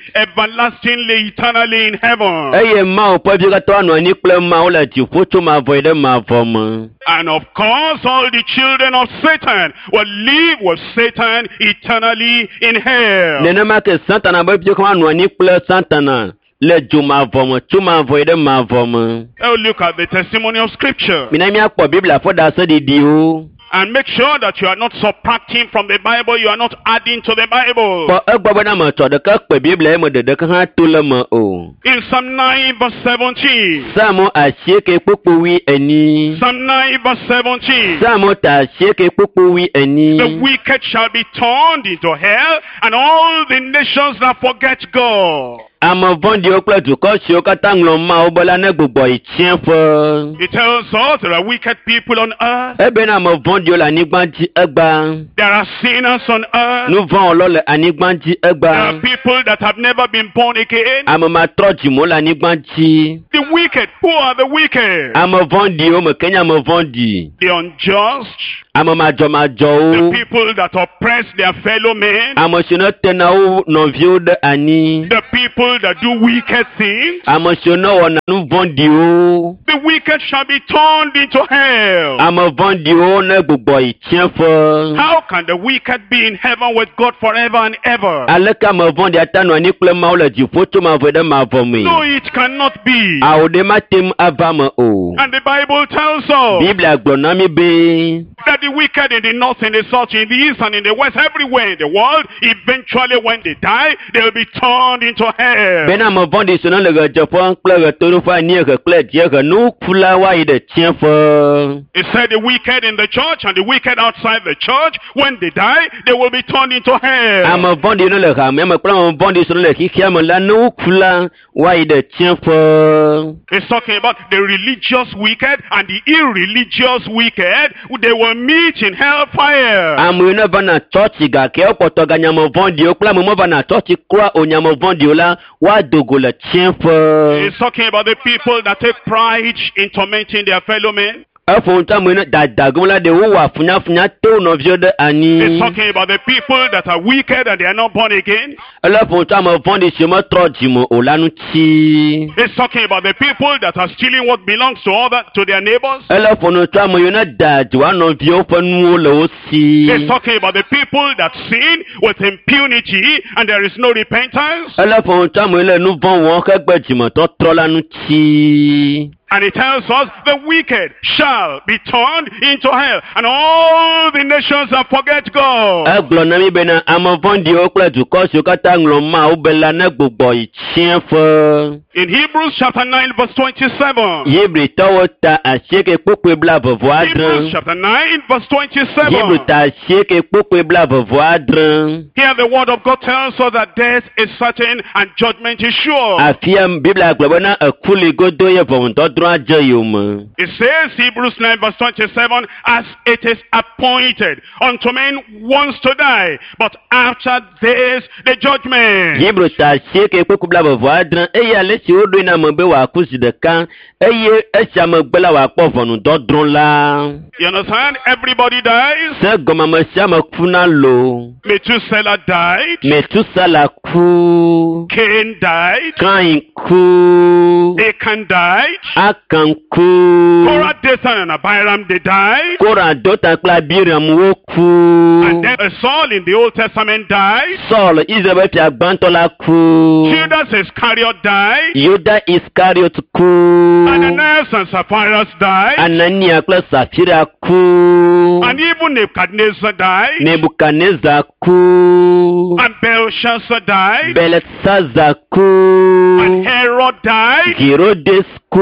everlastingly, eternally in heaven. Eye Mawu ƒe viwo katã anɔ anyi kple Mawu le dziƒo tso mavɔ yi ɖe mavɔ me. And of course, all the children of Satan will live with Satan eternally in hell. Nenema ke Satana be viwo katã anɔ anyi kple Satana le dzomavɔ me tso mavɔ yi ɖe mavɔ me. Oh, look at the testimony of Scripture. Mina míakpɔ Biblia ƒe ɖaseɖiɖiwo. And make sure that you are not subtracting from the Bible, you are not adding to the Bible. Kpɔ egbɔ bena metsɔ ɖeke kpe Biblia ye me ɖeɖeke hã to le me o. In Psalm 9 verse 17. Psalmo 84. Psalm 9 verse 17. Psalmo ta 84. The wicked shall be turned into hell, and all the nations that forget God. Ame vɔ̃ɖiwo kple dukɔ siwo katã ŋlɔ Mawu be la ne gbugbɔ yi tsiẽƒe. It tells us there are wicked people on earth. Ebena ame vɔ̃ɖiwo le anyigba dzi egba. There are sinners on earth. Nu vɔ̃wɔlawo le anyigba dzi There are egba. people that have never been born again. Ame matrɔ dzimewo le anyigba dzi. The wicked, who are the wicked? Ame vɔ̃ɖiwo me ke nye ame vɔ̃ɖi. The unjust, Ame the madzɔmadzɔwo. people that oppress their fellow men, Ame siwo ne tena wo nɔviwo ɖe anyi. the people that do wicked things. Ame siwo ne wɔna nu vɔ̃ɖiwo. The wicked shall be turned into hell. Ame vɔ̃ɖiwo ne gbugbɔ yi tsiẽƒe. How can the wicked be in heaven with God forever and ever? Aleke ame vɔ̃ɖi ate anɔ anyi kple Mawu le dziƒo tso mavɔ ɖe mavɔ mee? No, it cannot be. Awo ɖe mate ŋu ava me o. And the Bible tells us Biblia gblɔ na mí be that the wicked in the north, in the south, in the east, and in the west, everywhere in the world, eventually when they die, they will be turned into hell. bena ame vɔ̃ɖi siwo ne le ɣedzeƒe kple ɣetoɖoƒe, anyiehe kple dziehe, ne woku la woayi ɖe tsiẽƒe. It said the wicked in the church and the wicked outside the church, when they die, they will be turned into hell. Ame vɔ̃ɖi ne le hamea me kple ame vɔ̃ɖi siwo le xexea me la, ne woku la woayi ɖe tsiẽƒe. It's talking about the religious wicked and the irreligious wicked. They will meet in hellfire. Ame yiwo ne vana tsɔtsi gake wokpɔtɔ ganye ame vɔ̃ɖiwo kple ame mevana tsɔtsi kura o nye ame vɔ̃ɖiwo la, woado go le tsiẽƒe. It's talking about the people that take pride in tormenting their fellow men. Eƒo nu tso ame yiwo ne dadagom la ɖe wowɔa funyafunya to wo nɔviwo ɖe anyi. It's talking about the people that are wicked and they are not born again. Ele ƒo nu tso ame vɔ̃ɖi siwo metrɔ dzime o la ŋuti. It's talking about the people that are stealing what belongs to other to their neighbors. Ele ƒo nu tso ame yiwo ne da dzi woa nɔviwo ƒe nuwo le wo si. It's talking about the people that sin with impunity and there is no repentance. Ele ƒo nu tso ame yiwo le nu vɔ̃ wɔm hegbe dzimetɔtrɔ la ŋuti. And it tells us the wicked shall be turned into hell, and all the nations that forget God. Egblɔ na mí bena ame vɔ̃ɖiwo kple dukɔ siwo katã ŋlɔ Mawu be la ne gbugbɔ yi tsiẽƒe. In Hebrews chapter 9 verse 27. Hebritɔwo ta 8:26. Hebrews chapter 9 verse 27. Hebrew ta 8:26. Here the word of God tells us that death is certain and judgment is sure. Afia Biblia gblɔ bena eku li godo ye ʋɔnudɔdrɔ̃ adze yome. It says, Hebrews 9 verse 27, as it is appointed unto men once to die, but after this the judgment. Hebrew ta 8:26 eye ale si woɖoe na ame be wòaku zi ɖeka eye esia megbe la wòakpɔ ʋɔnudɔdrɔ̃ la. You understand? Everybody dies. Se gɔme ame sia ame kuna lo. Methuselah died. Metusala ku. Cain died. Kain ku. Achan died. Akan ku. Korah, Dathan, and Abiram, they died. Korah, Dothan kple Abiram woku. And then Saul in the Old Testament died. Saul, Israel ƒe fia gbãtɔ la ku. Judas Iscariot died. Yuda Iskariot ku. Ananias and Sapphira died. Anania kple Safira ku. And even Nebuchadnezzar died. Nebukadnezar ku. And Belshazzar died. Belsazar ku. And Herod died. Herodes ku.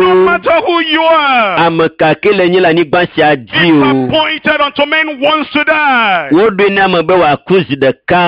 No matter who you are, Ame ka ke le nyi le anyigba sia dzi it's o. appointed unto men once to die. Woɖoe na ame be wòaku zi ɖeka.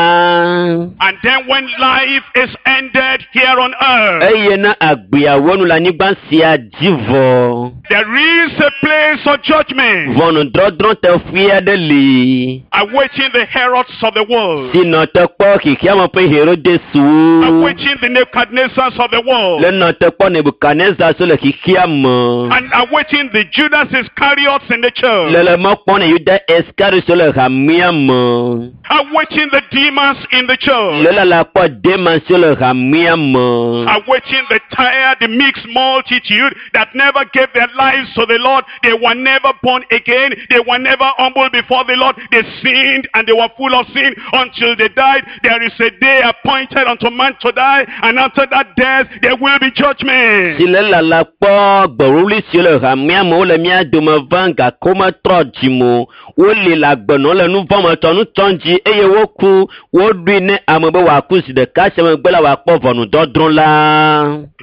And then when life is ended here on earth, Eye na agbeawo nu le anyigba sia dzi vɔ. there is a place of judgment Ʋɔnudɔdrɔ̃ teƒe aɖe li. awaiting the Herods of the world, Si nɔ te kpɔ xexeame ƒe Herodeswo. awaiting the Nebuchadnezzars of the world, Le nɔ te kpɔ Nebukadnezar so le xexeame. and awaiting the Judas Iscariots in the church, Le le mɔ kpɔm ne Yuda Iskariot so le hamea me. awaiting the demons in the church, Le lala kpɔ Demas so le hamea me. awaiting the tired, the mixed multitude that never gave their lives to the Lord. They were never born again. They were never humble before the Lord. They sinned and they were full of sin until they died. There is a day appointed unto man to die, and after After that death, there will be judgment. Si le lala kpɔ gbeɖuɖu siwo le hamea me wole mía dome vam gake wometrɔ dzime o. Woli le agbenɔ le nu vɔ̃ me tɔ nu tsɔm dzi eye woku woɖoe ne ame be wòaku zi ɖeka sia megbe la wòakpɔ ʋɔnudɔdrɔ̃ la.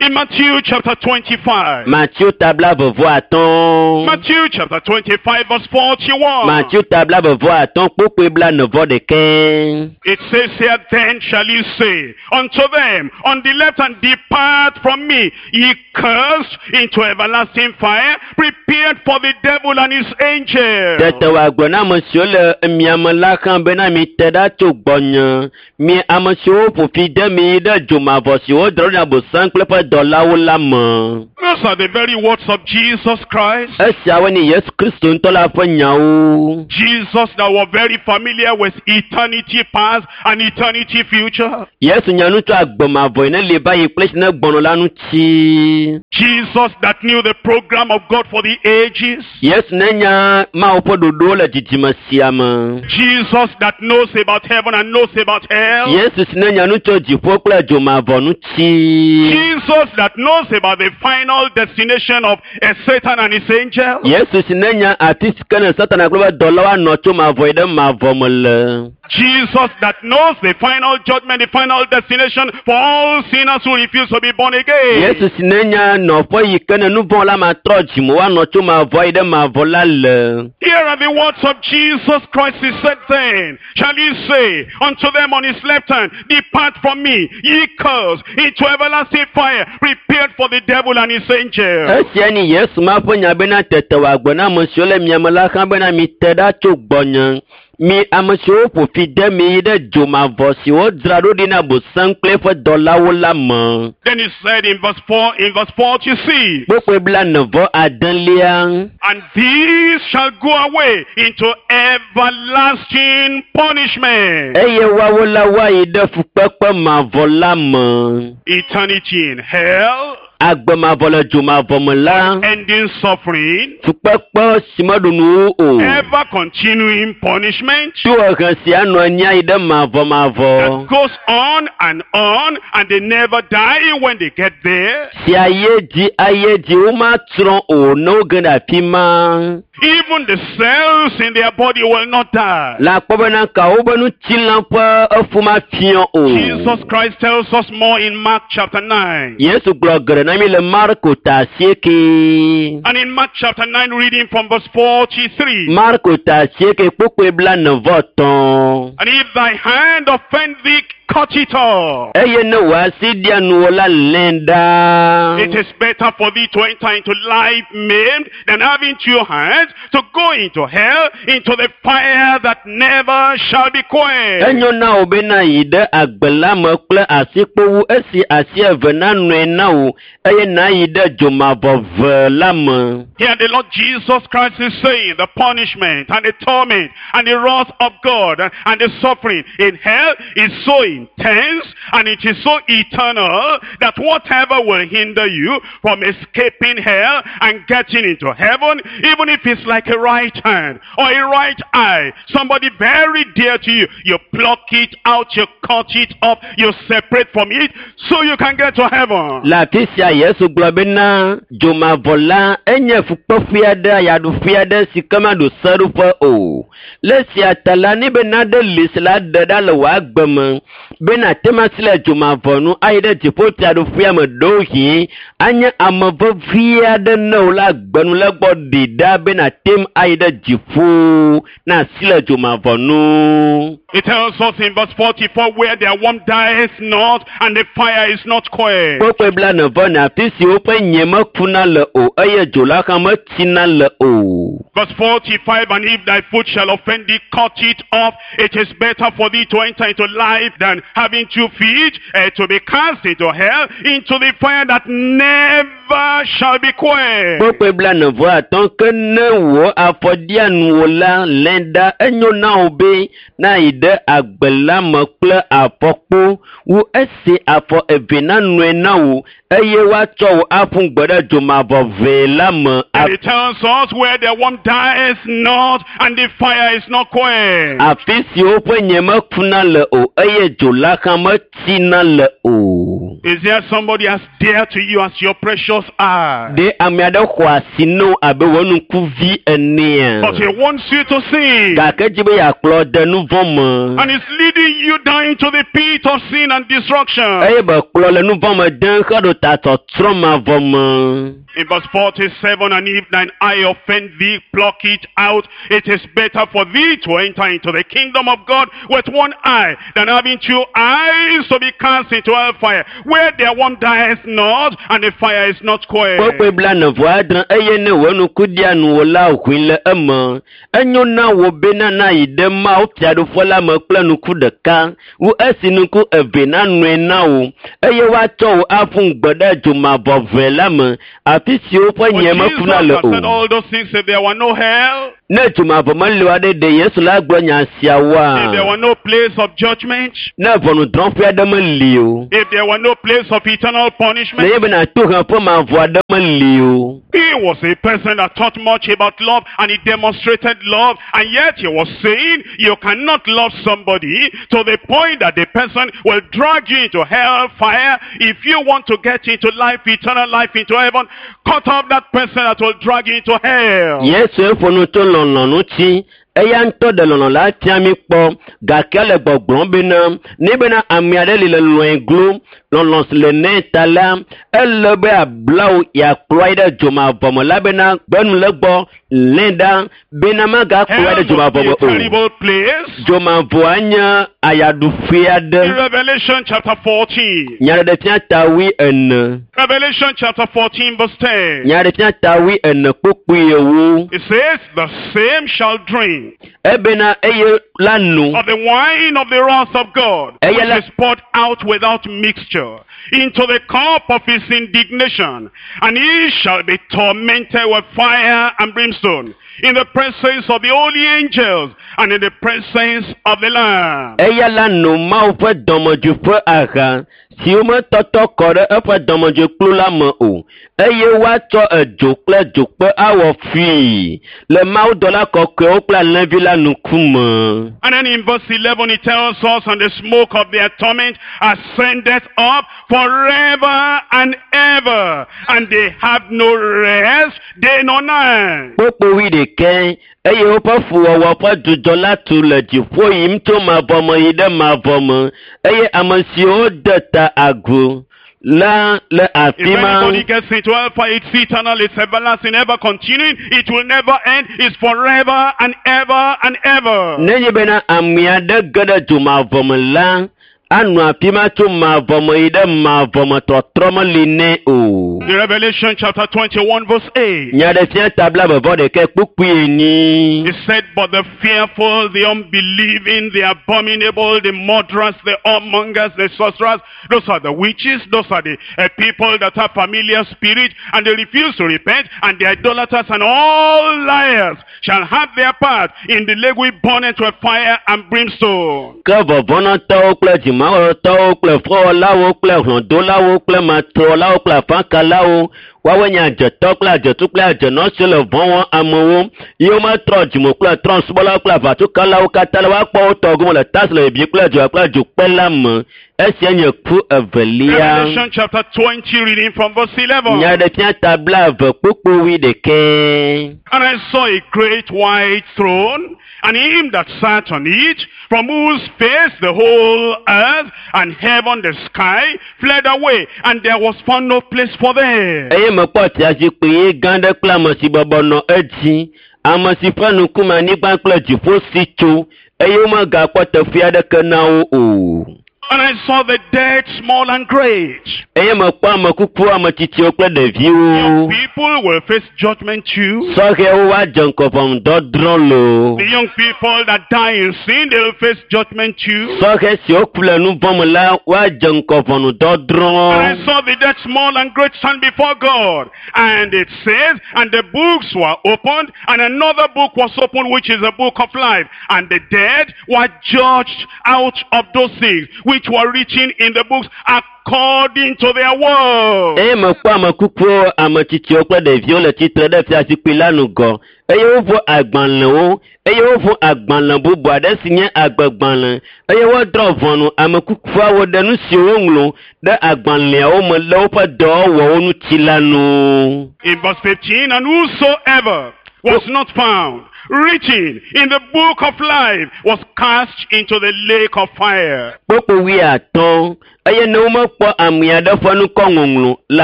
In Matthew chapter 25. Matthew ta 25. Matthew chapter 25 verse 41. Matthew ta 25 kpukpui 41. It says here, then shall he say unto them on the left hand, depart from me, ye cursed, into everlasting fire, prepared for the devil and his angels. Tete wòagblɔ na ame siwo le miame la hã bena mite ɖa tso gbɔnye. Mi ame siwo ƒo fi de mi yi ɖe dzomavɔ si wodrɔ̃ na Abosam kple eƒe dɔlawo la me. Those are the very words of Jesus Christ. Esiawoe nye Yesu Kristo ŋutɔ la ƒe nyawo. Jesus that was very familiar with eternity past and eternity future. Yesu nya nu tso agbe mavɔ yi ne li va yi kple esi ne gbɔnɔ la ŋuti. Jesus that knew the program of God for the ages. Yesu ne nya Mawu ƒe ɖoɖowo le dzidzime sia me. Jesus that knows about heaven and knows about hell. Yesu si ne nya nu tso dziƒo kple dzomavɔ ŋuti. Jesus that knows about the final destination of Satan and his angels. Yesu si ne nya afi si ke ne Satana kple eƒe dɔlawo anɔ tso mavɔ yi ɖe mavɔ me le. Jesus that knows the final judgment, the final destination for all sinners who refuse to be born again. Yesu si ne nya nɔƒe yi ke ne nu vɔ̃ la matrɔ dzime woanɔ tso mavɔ yi ɖe mavɔ la le. Here are the words of Jesus Christ. He said then, shall he say unto them on his left hand, depart from me, ye cursed, into everlasting fire, prepared for the devil and his angels. Esia nye Yesu ma ƒe nya bena tete wòagblɔ na ame siwo le miame la hã bena mite ɖa tso gbɔnye. Mi ame siwo ƒo fi de mi yi ɖe dzomavɔ si wodzra ɖo ɖi na Abosam kple eƒe dɔlawo la me. Then he said in verse 4, in verse 46, Kpukpui 46. And these shall go away into everlasting punishment. Eye woawo la woayi ɖe fukpekpe mavɔ la me. Eternity in hell. Agbe mavɔ le dzomavɔ me la. Ending suffering. Fukpekpe si meɖu nu o. Ever continuing punishment. Tohehe si anɔ anyi ayi ɖe mavɔ mavɔ. That goes on and on, and they never die when they get there. Si ayi edzi ayi edzi womatsrɔ̃ o ne woge ɖe afi ma. Even the cells in their body will not die. Le akpɔ bena ka wobe ŋutilã ƒe efu mafiɔ o. Jesus Christ tells us more in Mark chapter 9. Yesu gblɔ geɖe na mi le Marko ta 8. And in Mark chapter 9, reading from verse 43. Marko ta 8 kpukpui 43. And if thy hand offend thee, cut it off. Eye ne wò asi ɖia nuwò la, lẽe ɖa. It is better for thee to enter into life maimed than having two hands to go into hell, into the fire that never shall be quenched. Enyo na wò bena yi ɖe agbe la me kple asikpowu esi asi eve nanɔe na wò eye nayi ɖe dzomavɔ ve la me. Here the Lord Jesus Christ is saying the punishment and the torment and the wrath of God and the suffering in hell is so intense and it is so eternal that whatever will hinder you from escaping hell and getting into heaven, even if it's like a right hand or a right eye, somebody very dear to you, you pluck it out, you cut it off, you separate from it so you can get to heaven. Le afi sia Yesu gblɔ bena dzomavɔ la enye fukpeƒe aɖe ayaɖuƒe aɖe si ke maɖo seɖoƒe o. Le esia ta la, ne be naɖe li si la ɖe ɖa le wò agbe me bena ate ŋu asi le dzomavɔ nu ayi ɖe dziƒofiaɖuƒea me ɖewohĩ anye ame vevi aɖe ne wò le agbe nu le gbɔ ɖi ɖa bena ate ŋu ayi ɖe dziƒo na asi le dzomavɔ nu. It tells us in verse 44 where their worm dies not and the fire is not quenched. Kpukpui 44 afi si woƒe nye mekuna le o eye dzo la hã metsina le o. Verse 45, and if thy foot shall offend thee, cut it off. It is better for thee to enter into life than having 2 feet to be cast into hell, into the fire that never shall be quenched. Kpukpui 45 ke ne wò afɔ ɖia nuwò la, lẽ ɖa enyo na wò be nayi ɖe agbe la me kple afɔkpo wu esi afɔ eve nanɔe na wò eye woatsɔ wò aƒu gbe ɖe dzomavɔ vee la me. It tells us where the worm dies not and the fire is not quenched. Afi si woƒe nye mekuna le o eye dzo la hã metsina le o. o. Is there somebody as dear to you as your precious eye? Ɖe ame aɖe xɔ asi na wò abe wò ŋkuvi enea? But he wants you to sin. Gake dzi be yeakplɔ de nu vɔ̃ me. And he's leading you down into the pit of sin and destruction. Eye be kplɔ le nu vɔ̃ me dem heɖo ta tsɔtsrɔ̃ mavɔ me. In verse 47, and if thine eye offend thee, pluck it out. It is better for thee to enter into the kingdom of God with one eye than having two eyes to be cast into hellfire, where their worm dieth not, and the fire is not quenched. Kpukpui 46 eye ne wò ŋku ɖia nuwò la ʋui le eme. Enyo na wò bena nayi ɖe Mawu fiaɖuƒe la me kple ŋku ɖeka wu esi ŋku eve nanɔe na wò eye woatsɔ wò aƒu gbe ɖe dzomavɔʋe la me afi si woƒe But nye Jesus mekuna le has said o. all those things if there were no hell, Ne dzomavɔ meli o aɖe ɖe Yesu la gblɔ nya if there siawoa? were no place of judgment, Ne ʋɔnudrɔ̃ƒe aɖe meli o. if there were no place of eternal punishment. Nenye bena toheƒe mavɔ aɖe meli o. He was a person that taught much about love and he demonstrated love, and yet he was saying you cannot love somebody to the point that the person will drag you into hell fire. If you want to get into life, eternal life, into heaven, cut off that person that will drag you into hell. Yesu ƒo nu tso lɔlɔ̃ ŋuti. Eya ŋutɔ ɖe lɔlɔ̃ la fia mí kpɔ gake le gbɔgblɔm bena ne bena ame aɖe li le lɔ̃e glo lɔlɔ̃ si le nɛ ta la ele be abla wò yeakplɔe ɖe dzomavɔ me la bena gbenu le gbɔ lé ɖa bena magakplɔe ɖe Hell must dzomavɔ be me a o. terrible place. Dzomavɔa nye ayaɖuƒe aɖe. In Revelation chapter 14. Nyaɖeɖefia ta 14. Revelation chapter 14 verse 10. Nyaɖeɖefia ta 14 kpukpui 10. It says, the same shall drink Ebena eye la no. of the wine of the wrath of God, Eye which la- is poured out without mixture, into the cup of his indignation, and he shall be tormented with fire and brimstone, in the presence of the holy angels, and in the presence of the Lamb. Eya la no Mawu ƒe dɔmedzoe ƒe aha si wometɔtɔ kɔ ɖe eƒe dɔmedzoekplu la me o eye woatsɔ edzo kple dzokpe awɔ fui le mawudɔla kɔkɔewo kple alẽvi la ŋkume. And then in verse 11 it tells us, and the smoke of their torment ascendeth up forever and ever, and they have no rest day nor night. Kpukpui 11 eye woƒe fuwɔwɔ ƒe dzudzɔ la tu le dziƒo yim tso mavɔ me yi ɖe mavɔ me eye ame siwo de ta agu la le If afi ma. anybody gets into hellfire, it's eternal, it's everlasting, ever continuing, it will never end, it's forever and ever and ever. Nenye bena ame aɖe ge ɖe dzomavɔ me la, anɔ afi ma tso mavɔ me yi ɖe mavɔ me tɔtrɔ meli nɛ o. In Revelation chapter 21 verse 8, Nyaɖefia ta 21 kpukpui 4. it said, but the fearful, the unbelieving, the abominable, the murderers, the whoremongers, the sorcerers, those are the witches, those are the people that have familiar spirit, and they refuse to repent, and the idolaters and all liars shall have their part in the lake which burneth with fire and brimstone. Ke vɔvɔ̃nɔtɔwo kple dzimawɔtɔwo kple fɔwɔlawo kple hlɔ̃dolawo kple matrɔlawo kple afakalawo woawoe nye adzetɔ kple adzetu kple adzenɔ siwo le vɔ̃ wɔm amewo ye wometrɔ dzime kple trɔ̃subɔlawo kple aʋatsokalawo katã la woakpɔ wo tɔ gome le ta si le bibim kple dzo kple dzokpe la me. Esia nye ku evelia. Revelation chapter 20, reading from verse 11. Nyaɖefia ta 20 kpukpui 11. And I saw a great white throne, and him that sat on it, from whose face the whole earth and heaven the sky fled away, and there was found no place for them. Eye mekpɔ fiazikpui ɣi gã aɖe kple ame si bɔbɔ nɔ edzi, ame si ƒe ŋkume anyigba kple dziƒo si tso eye womegakpɔ teƒe aɖeke na wo o. And I saw the dead, small and great. Eye mekpɔ ame kukuwo, ame tsitsiwo kple Young ɖeviwo. people will face judgment too. Sɔhɛwo woadze ŋgɔ ʋɔnudɔdrɔ̃ loo. The young people that die in sin, they will face judgment too. Sɔhɛ siwo ku le nu vɔ̃ me la woadze ŋgɔ ʋɔnudɔdrɔ̃. And I saw the dead, small and great, stand before God. And it says, and the books were opened, and another book was opened, which is the book of life. And the dead were judged out of those things which which were written in the books according to their works. Eye mekpɔ ame kukuwo, ame tsitsiwo kple ɖeviwo le tsitre ɖe fiazikpui la ŋgɔ eye woʋu agbalẽwo eye woʋu agbalẽ bubu aɖe si nye agbegbalẽ eye wodrɔ̃ ʋɔnu ame kukuawo ɖe nu siwo woŋlɔ ɖe agbalẽawo me le woƒe dɔwɔwɔwo ŋuti la nu. In verse 15, and whosoever was not found written in the book of life was cast into the lake of fire. Kpukpui wuiatɔ̃ eye ne womekpɔ ame aɖe ƒe ŋkɔ ŋɔŋlɔ le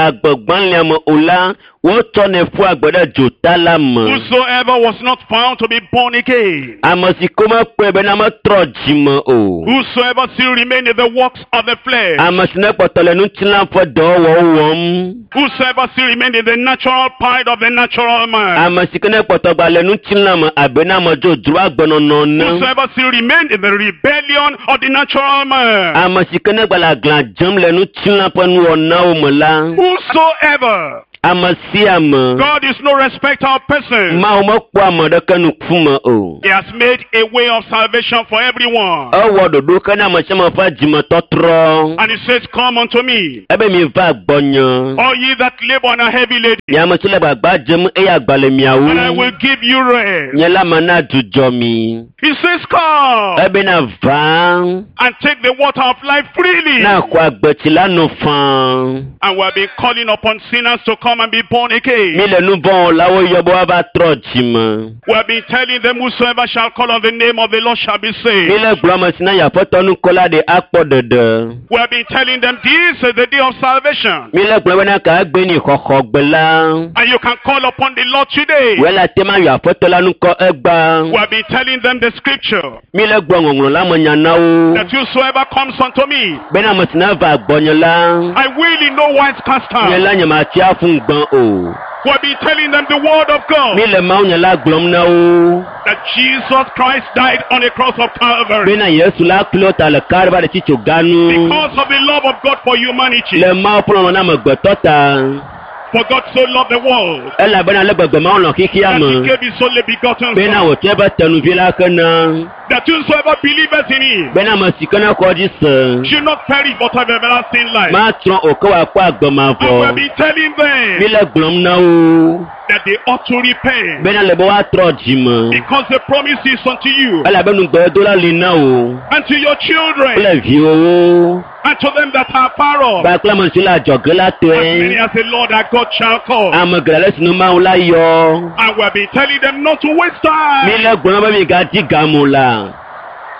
agbegbalẽa me o la, wotsɔnɛ ƒua agbe ɖe dzota la me. Whosoever was not found to be born again, Ame si ke womekpɔe bena metrɔ dzime o. whosoever still remained in the works of the flesh, Ame si nekpɔtɔ le ŋutilã ƒe dɔwɔwɔwo wɔm. whosoever still remained in the natural pride of the natural man, Ame si ke nekpɔtɔ gba le ŋutilã me abe na ame dzodzro agbenɔnɔ ene. whosoever still remained in the rebellion of the natural man, Ame si ke negba le aglã dzem le ŋutilã ƒe nuwɔnawo me la. whosoever, Ame sia ame. God is no respecter of persons. Mawu mekpɔa ame ɖeke ŋkume o. He has made a way of salvation for everyone. Ewɔ ɖoɖo ke na ame sia ame ƒe dzimetɔtrɔ. And he says, Come unto me, Ebe mi va gbɔnye. all ye that labor and are heavy laden, Nye ame si le gbagba dzem eye agba le miawo. and I will give you rest. Nye la mana dzudzɔ mi. He says, Come Ebena va and take the water of life freely. na xɔ agbetsi la no faa. And we have been calling upon sinners to come and be born again. Mi le nu vɔ̃wɔlawo yɔ be woava trɔ dzime. We have been telling them, Whosoever shall call on the name of the Lord shall be Mi saved. le gblɔ ame si na yi aƒetɔ nukɔla ɖe akpɔ ɖeɖe. We have been telling them, This is the day of salvation. Mi le gblɔ bena ka egbe ni xɔxɔgbe la. And you can call upon the Lord today. Wòe le ate ma yɔ aƒetɔ la nukɔ egba. We have been telling them the scripture Mi le gblɔ ŋɔŋlɔ la me nya na wo. that whosoever comes unto me, Bena ame si na va gbɔnye la. I will in no wise cast Nye out. la nye ma tia fún gbɔn o. We have been telling them the word of God Mi le Mawu nye la gblɔm na wo. that Jesus Christ died on the cross of Calvary Bena Yesu la klo ta le Kalvari tsitso ganu. because of the love of God for humanity. Le Mawu ƒe lɔlɔ̃ na amegbetɔ ta. For God so loved the world Elabena le gbegbe Mawu lɔ̃ xexea that he me. gave his only begotten Bena Son, wòtsɔ eƒe tenuvi la ke na. that whosoever believeth in him Bena ame si ke ne xɔ dzi se. should not perish but have everlasting life. Matrɔ o ke wòakpɔ agbe And we have mavɔ. been telling Mi them le gblɔm na wo. that they ought to repent Bena le be woatrɔ dzime. because the promise is unto you Elabe nugbedola li na wo. and to your children Kple viwòwo. and to them that are far off, Kpakple ame siwo le adzɔge la as many tɔe. as the Lord our God shall call. Ame geɖe le sinu Mawu la yɔ. And we have been telling them not to waste Mi time. le gblɔm be migadi game o la.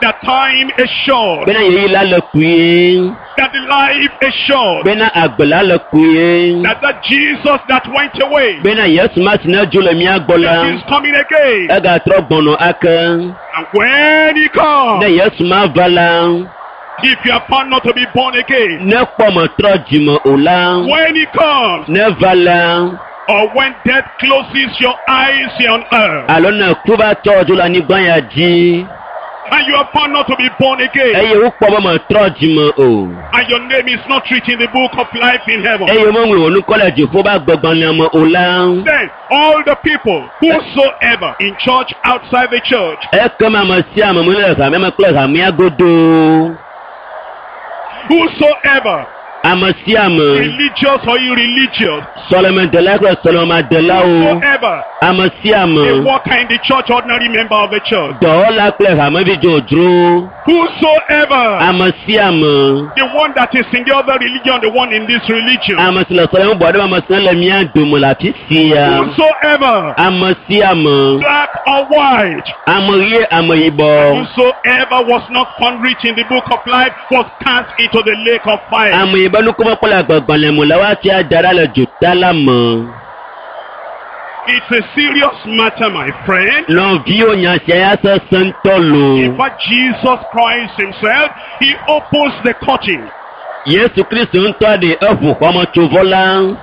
That time is short. Bena ɣeyiɣi la le kpuie. That the life is short. Bena agbe la le kpuie. That Jesus that went away, Bena Yesu ma si ne dzo le mía gbɔ la. that is coming again. Egatrɔ gbɔnɔ ake. And when he comes, Ne Yesu ma va la. if you are found not to be born again, Ne kpɔ metrɔ dzime o la. when he comes, Ne va la. or when death closes your eyes here on earth, Alo ne ku va tɔ dzo le anyigba ya dzi. and you are found not to be born again, Eye wokpɔ be metrɔ dzime o. and your name is not written in the book of life in heaven, Eye womeŋlɔ wò ŋkɔ le dziƒo be agbegbalẽa me o la. then all the people, whosoever in church, outside the church, Ekema ame sia ame mu le hamea me kple hamea godo. whosoever, Ame sia ame, religious or irreligious, sɔlemedela kple sɔlemadelawo. whosoever, Ame sia a ame, worker in the church, ordinary member of the church, dɔwɔla kple hamevi dzodzro. whosoever, Ame sia ame, the one that is in the other religion, the one in this religion, ame si le sɔleme bɔ aɖe me, ame si le mía dome le afi sia. whosoever, Ame sia ame, black or white, ame ɣie, ame yibɔ. whosoever was not found written in the book of life was cast into the lake of fire. Ame yi be nukome kpɔ le agbegbalẽ me la, woatia da ɖa le dzota la me. It's a serious matter, my friend. Nɔviwo nya sia ya sesẽ ŋutɔ In loo. fact, Jesus Christ himself, he opens the curtain Yesu Kristu ŋutɔ ɖe eʋu xɔmetsovɔ la.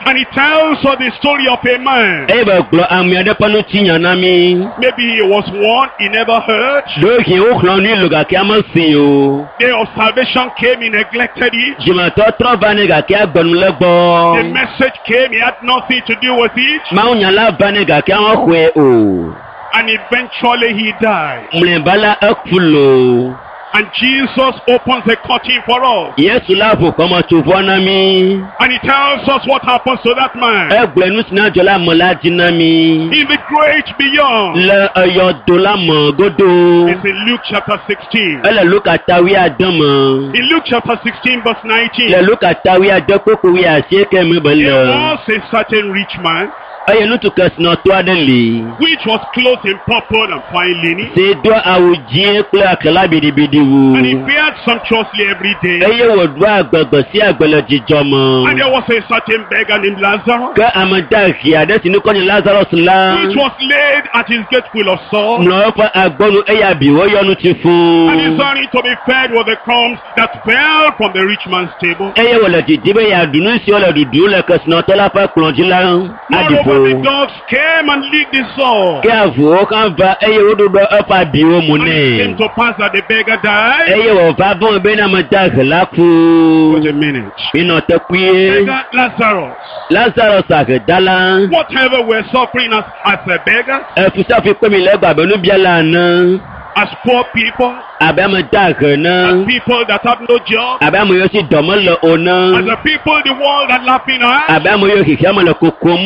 and he tells us the story of a man. Eye be gblɔ ame aɖe ƒe ŋutinya na mí. Maybe he was one he never heard. Ɖewohĩ woxlɔ̃ nui lo gake ame si o. Day of salvation came, he neglected it. Dzimetɔtrɔ va nɛ gake agbe nu le The gbɔ. message came, he had nothing to do with it. Mawunya la va nɛ gake mexɔe o. And eventually he died. Mlɔeba la eku loo. And Jesus opens the curtain for us. Yesu la ʋu xɔmetsovɔ na mí. And he tells us what happens to that man. Egblɔe nu si na dzɔ le ame la dzi na mí. In the great beyond. Le eyɔdo la me godo. It's in Luke chapter 16. Ele Luka ta wuiade me. In Luke chapter 16 verse 19. Le Luka ta wuiade kpukpui wuiasieke me be There le. was a certain rich man Eye ŋutsu kesinɔtɔ aɖe li. which was clothed in purple and fine linen, Si do awu dzĩ kple aklala biɖibiɖi wu. and he fared sumptuously every day. Eye wòɖoa agbe gbe sia gbe le dzidzɔ And me. there was a certain beggar named Lazarus, Ke ame dahe aɖe si ŋkɔ nye Lazarus la which was laid at his gate full of sores, mlɔ eƒe agbɔnu eye abiwo yɔ nu tsi fũu. and desiring to be fed with the crumbs that fell from the rich man's table. Eye wòle didi be yeaɖu nu siwo le ɖuɖum le kesinɔtɔ la ƒe kplɔ̃ dzi la aɖi Moreover, the ƒo. dogs came and licked the sore. Ke avuwo hã va eye woɖuɖɔ eƒe abiwo mu And it came nɛ. to pass that the beggar died. Eye wòva vɔ̃ bena ame dahe la ku. Wait a minute. Minɔ te kpuie. Beggar Lazarus. Lazarus ahedala. Whatever we're suffering as a beggar, Efusiafu kpe mi le egbe abe nubiala ene. as poor people, Abe ame dahe as ene. people that have no job, Abe ame yiwo si dɔ mele o as ne. the people the world are laughing at, Abe ame yiwo xexeame le kokom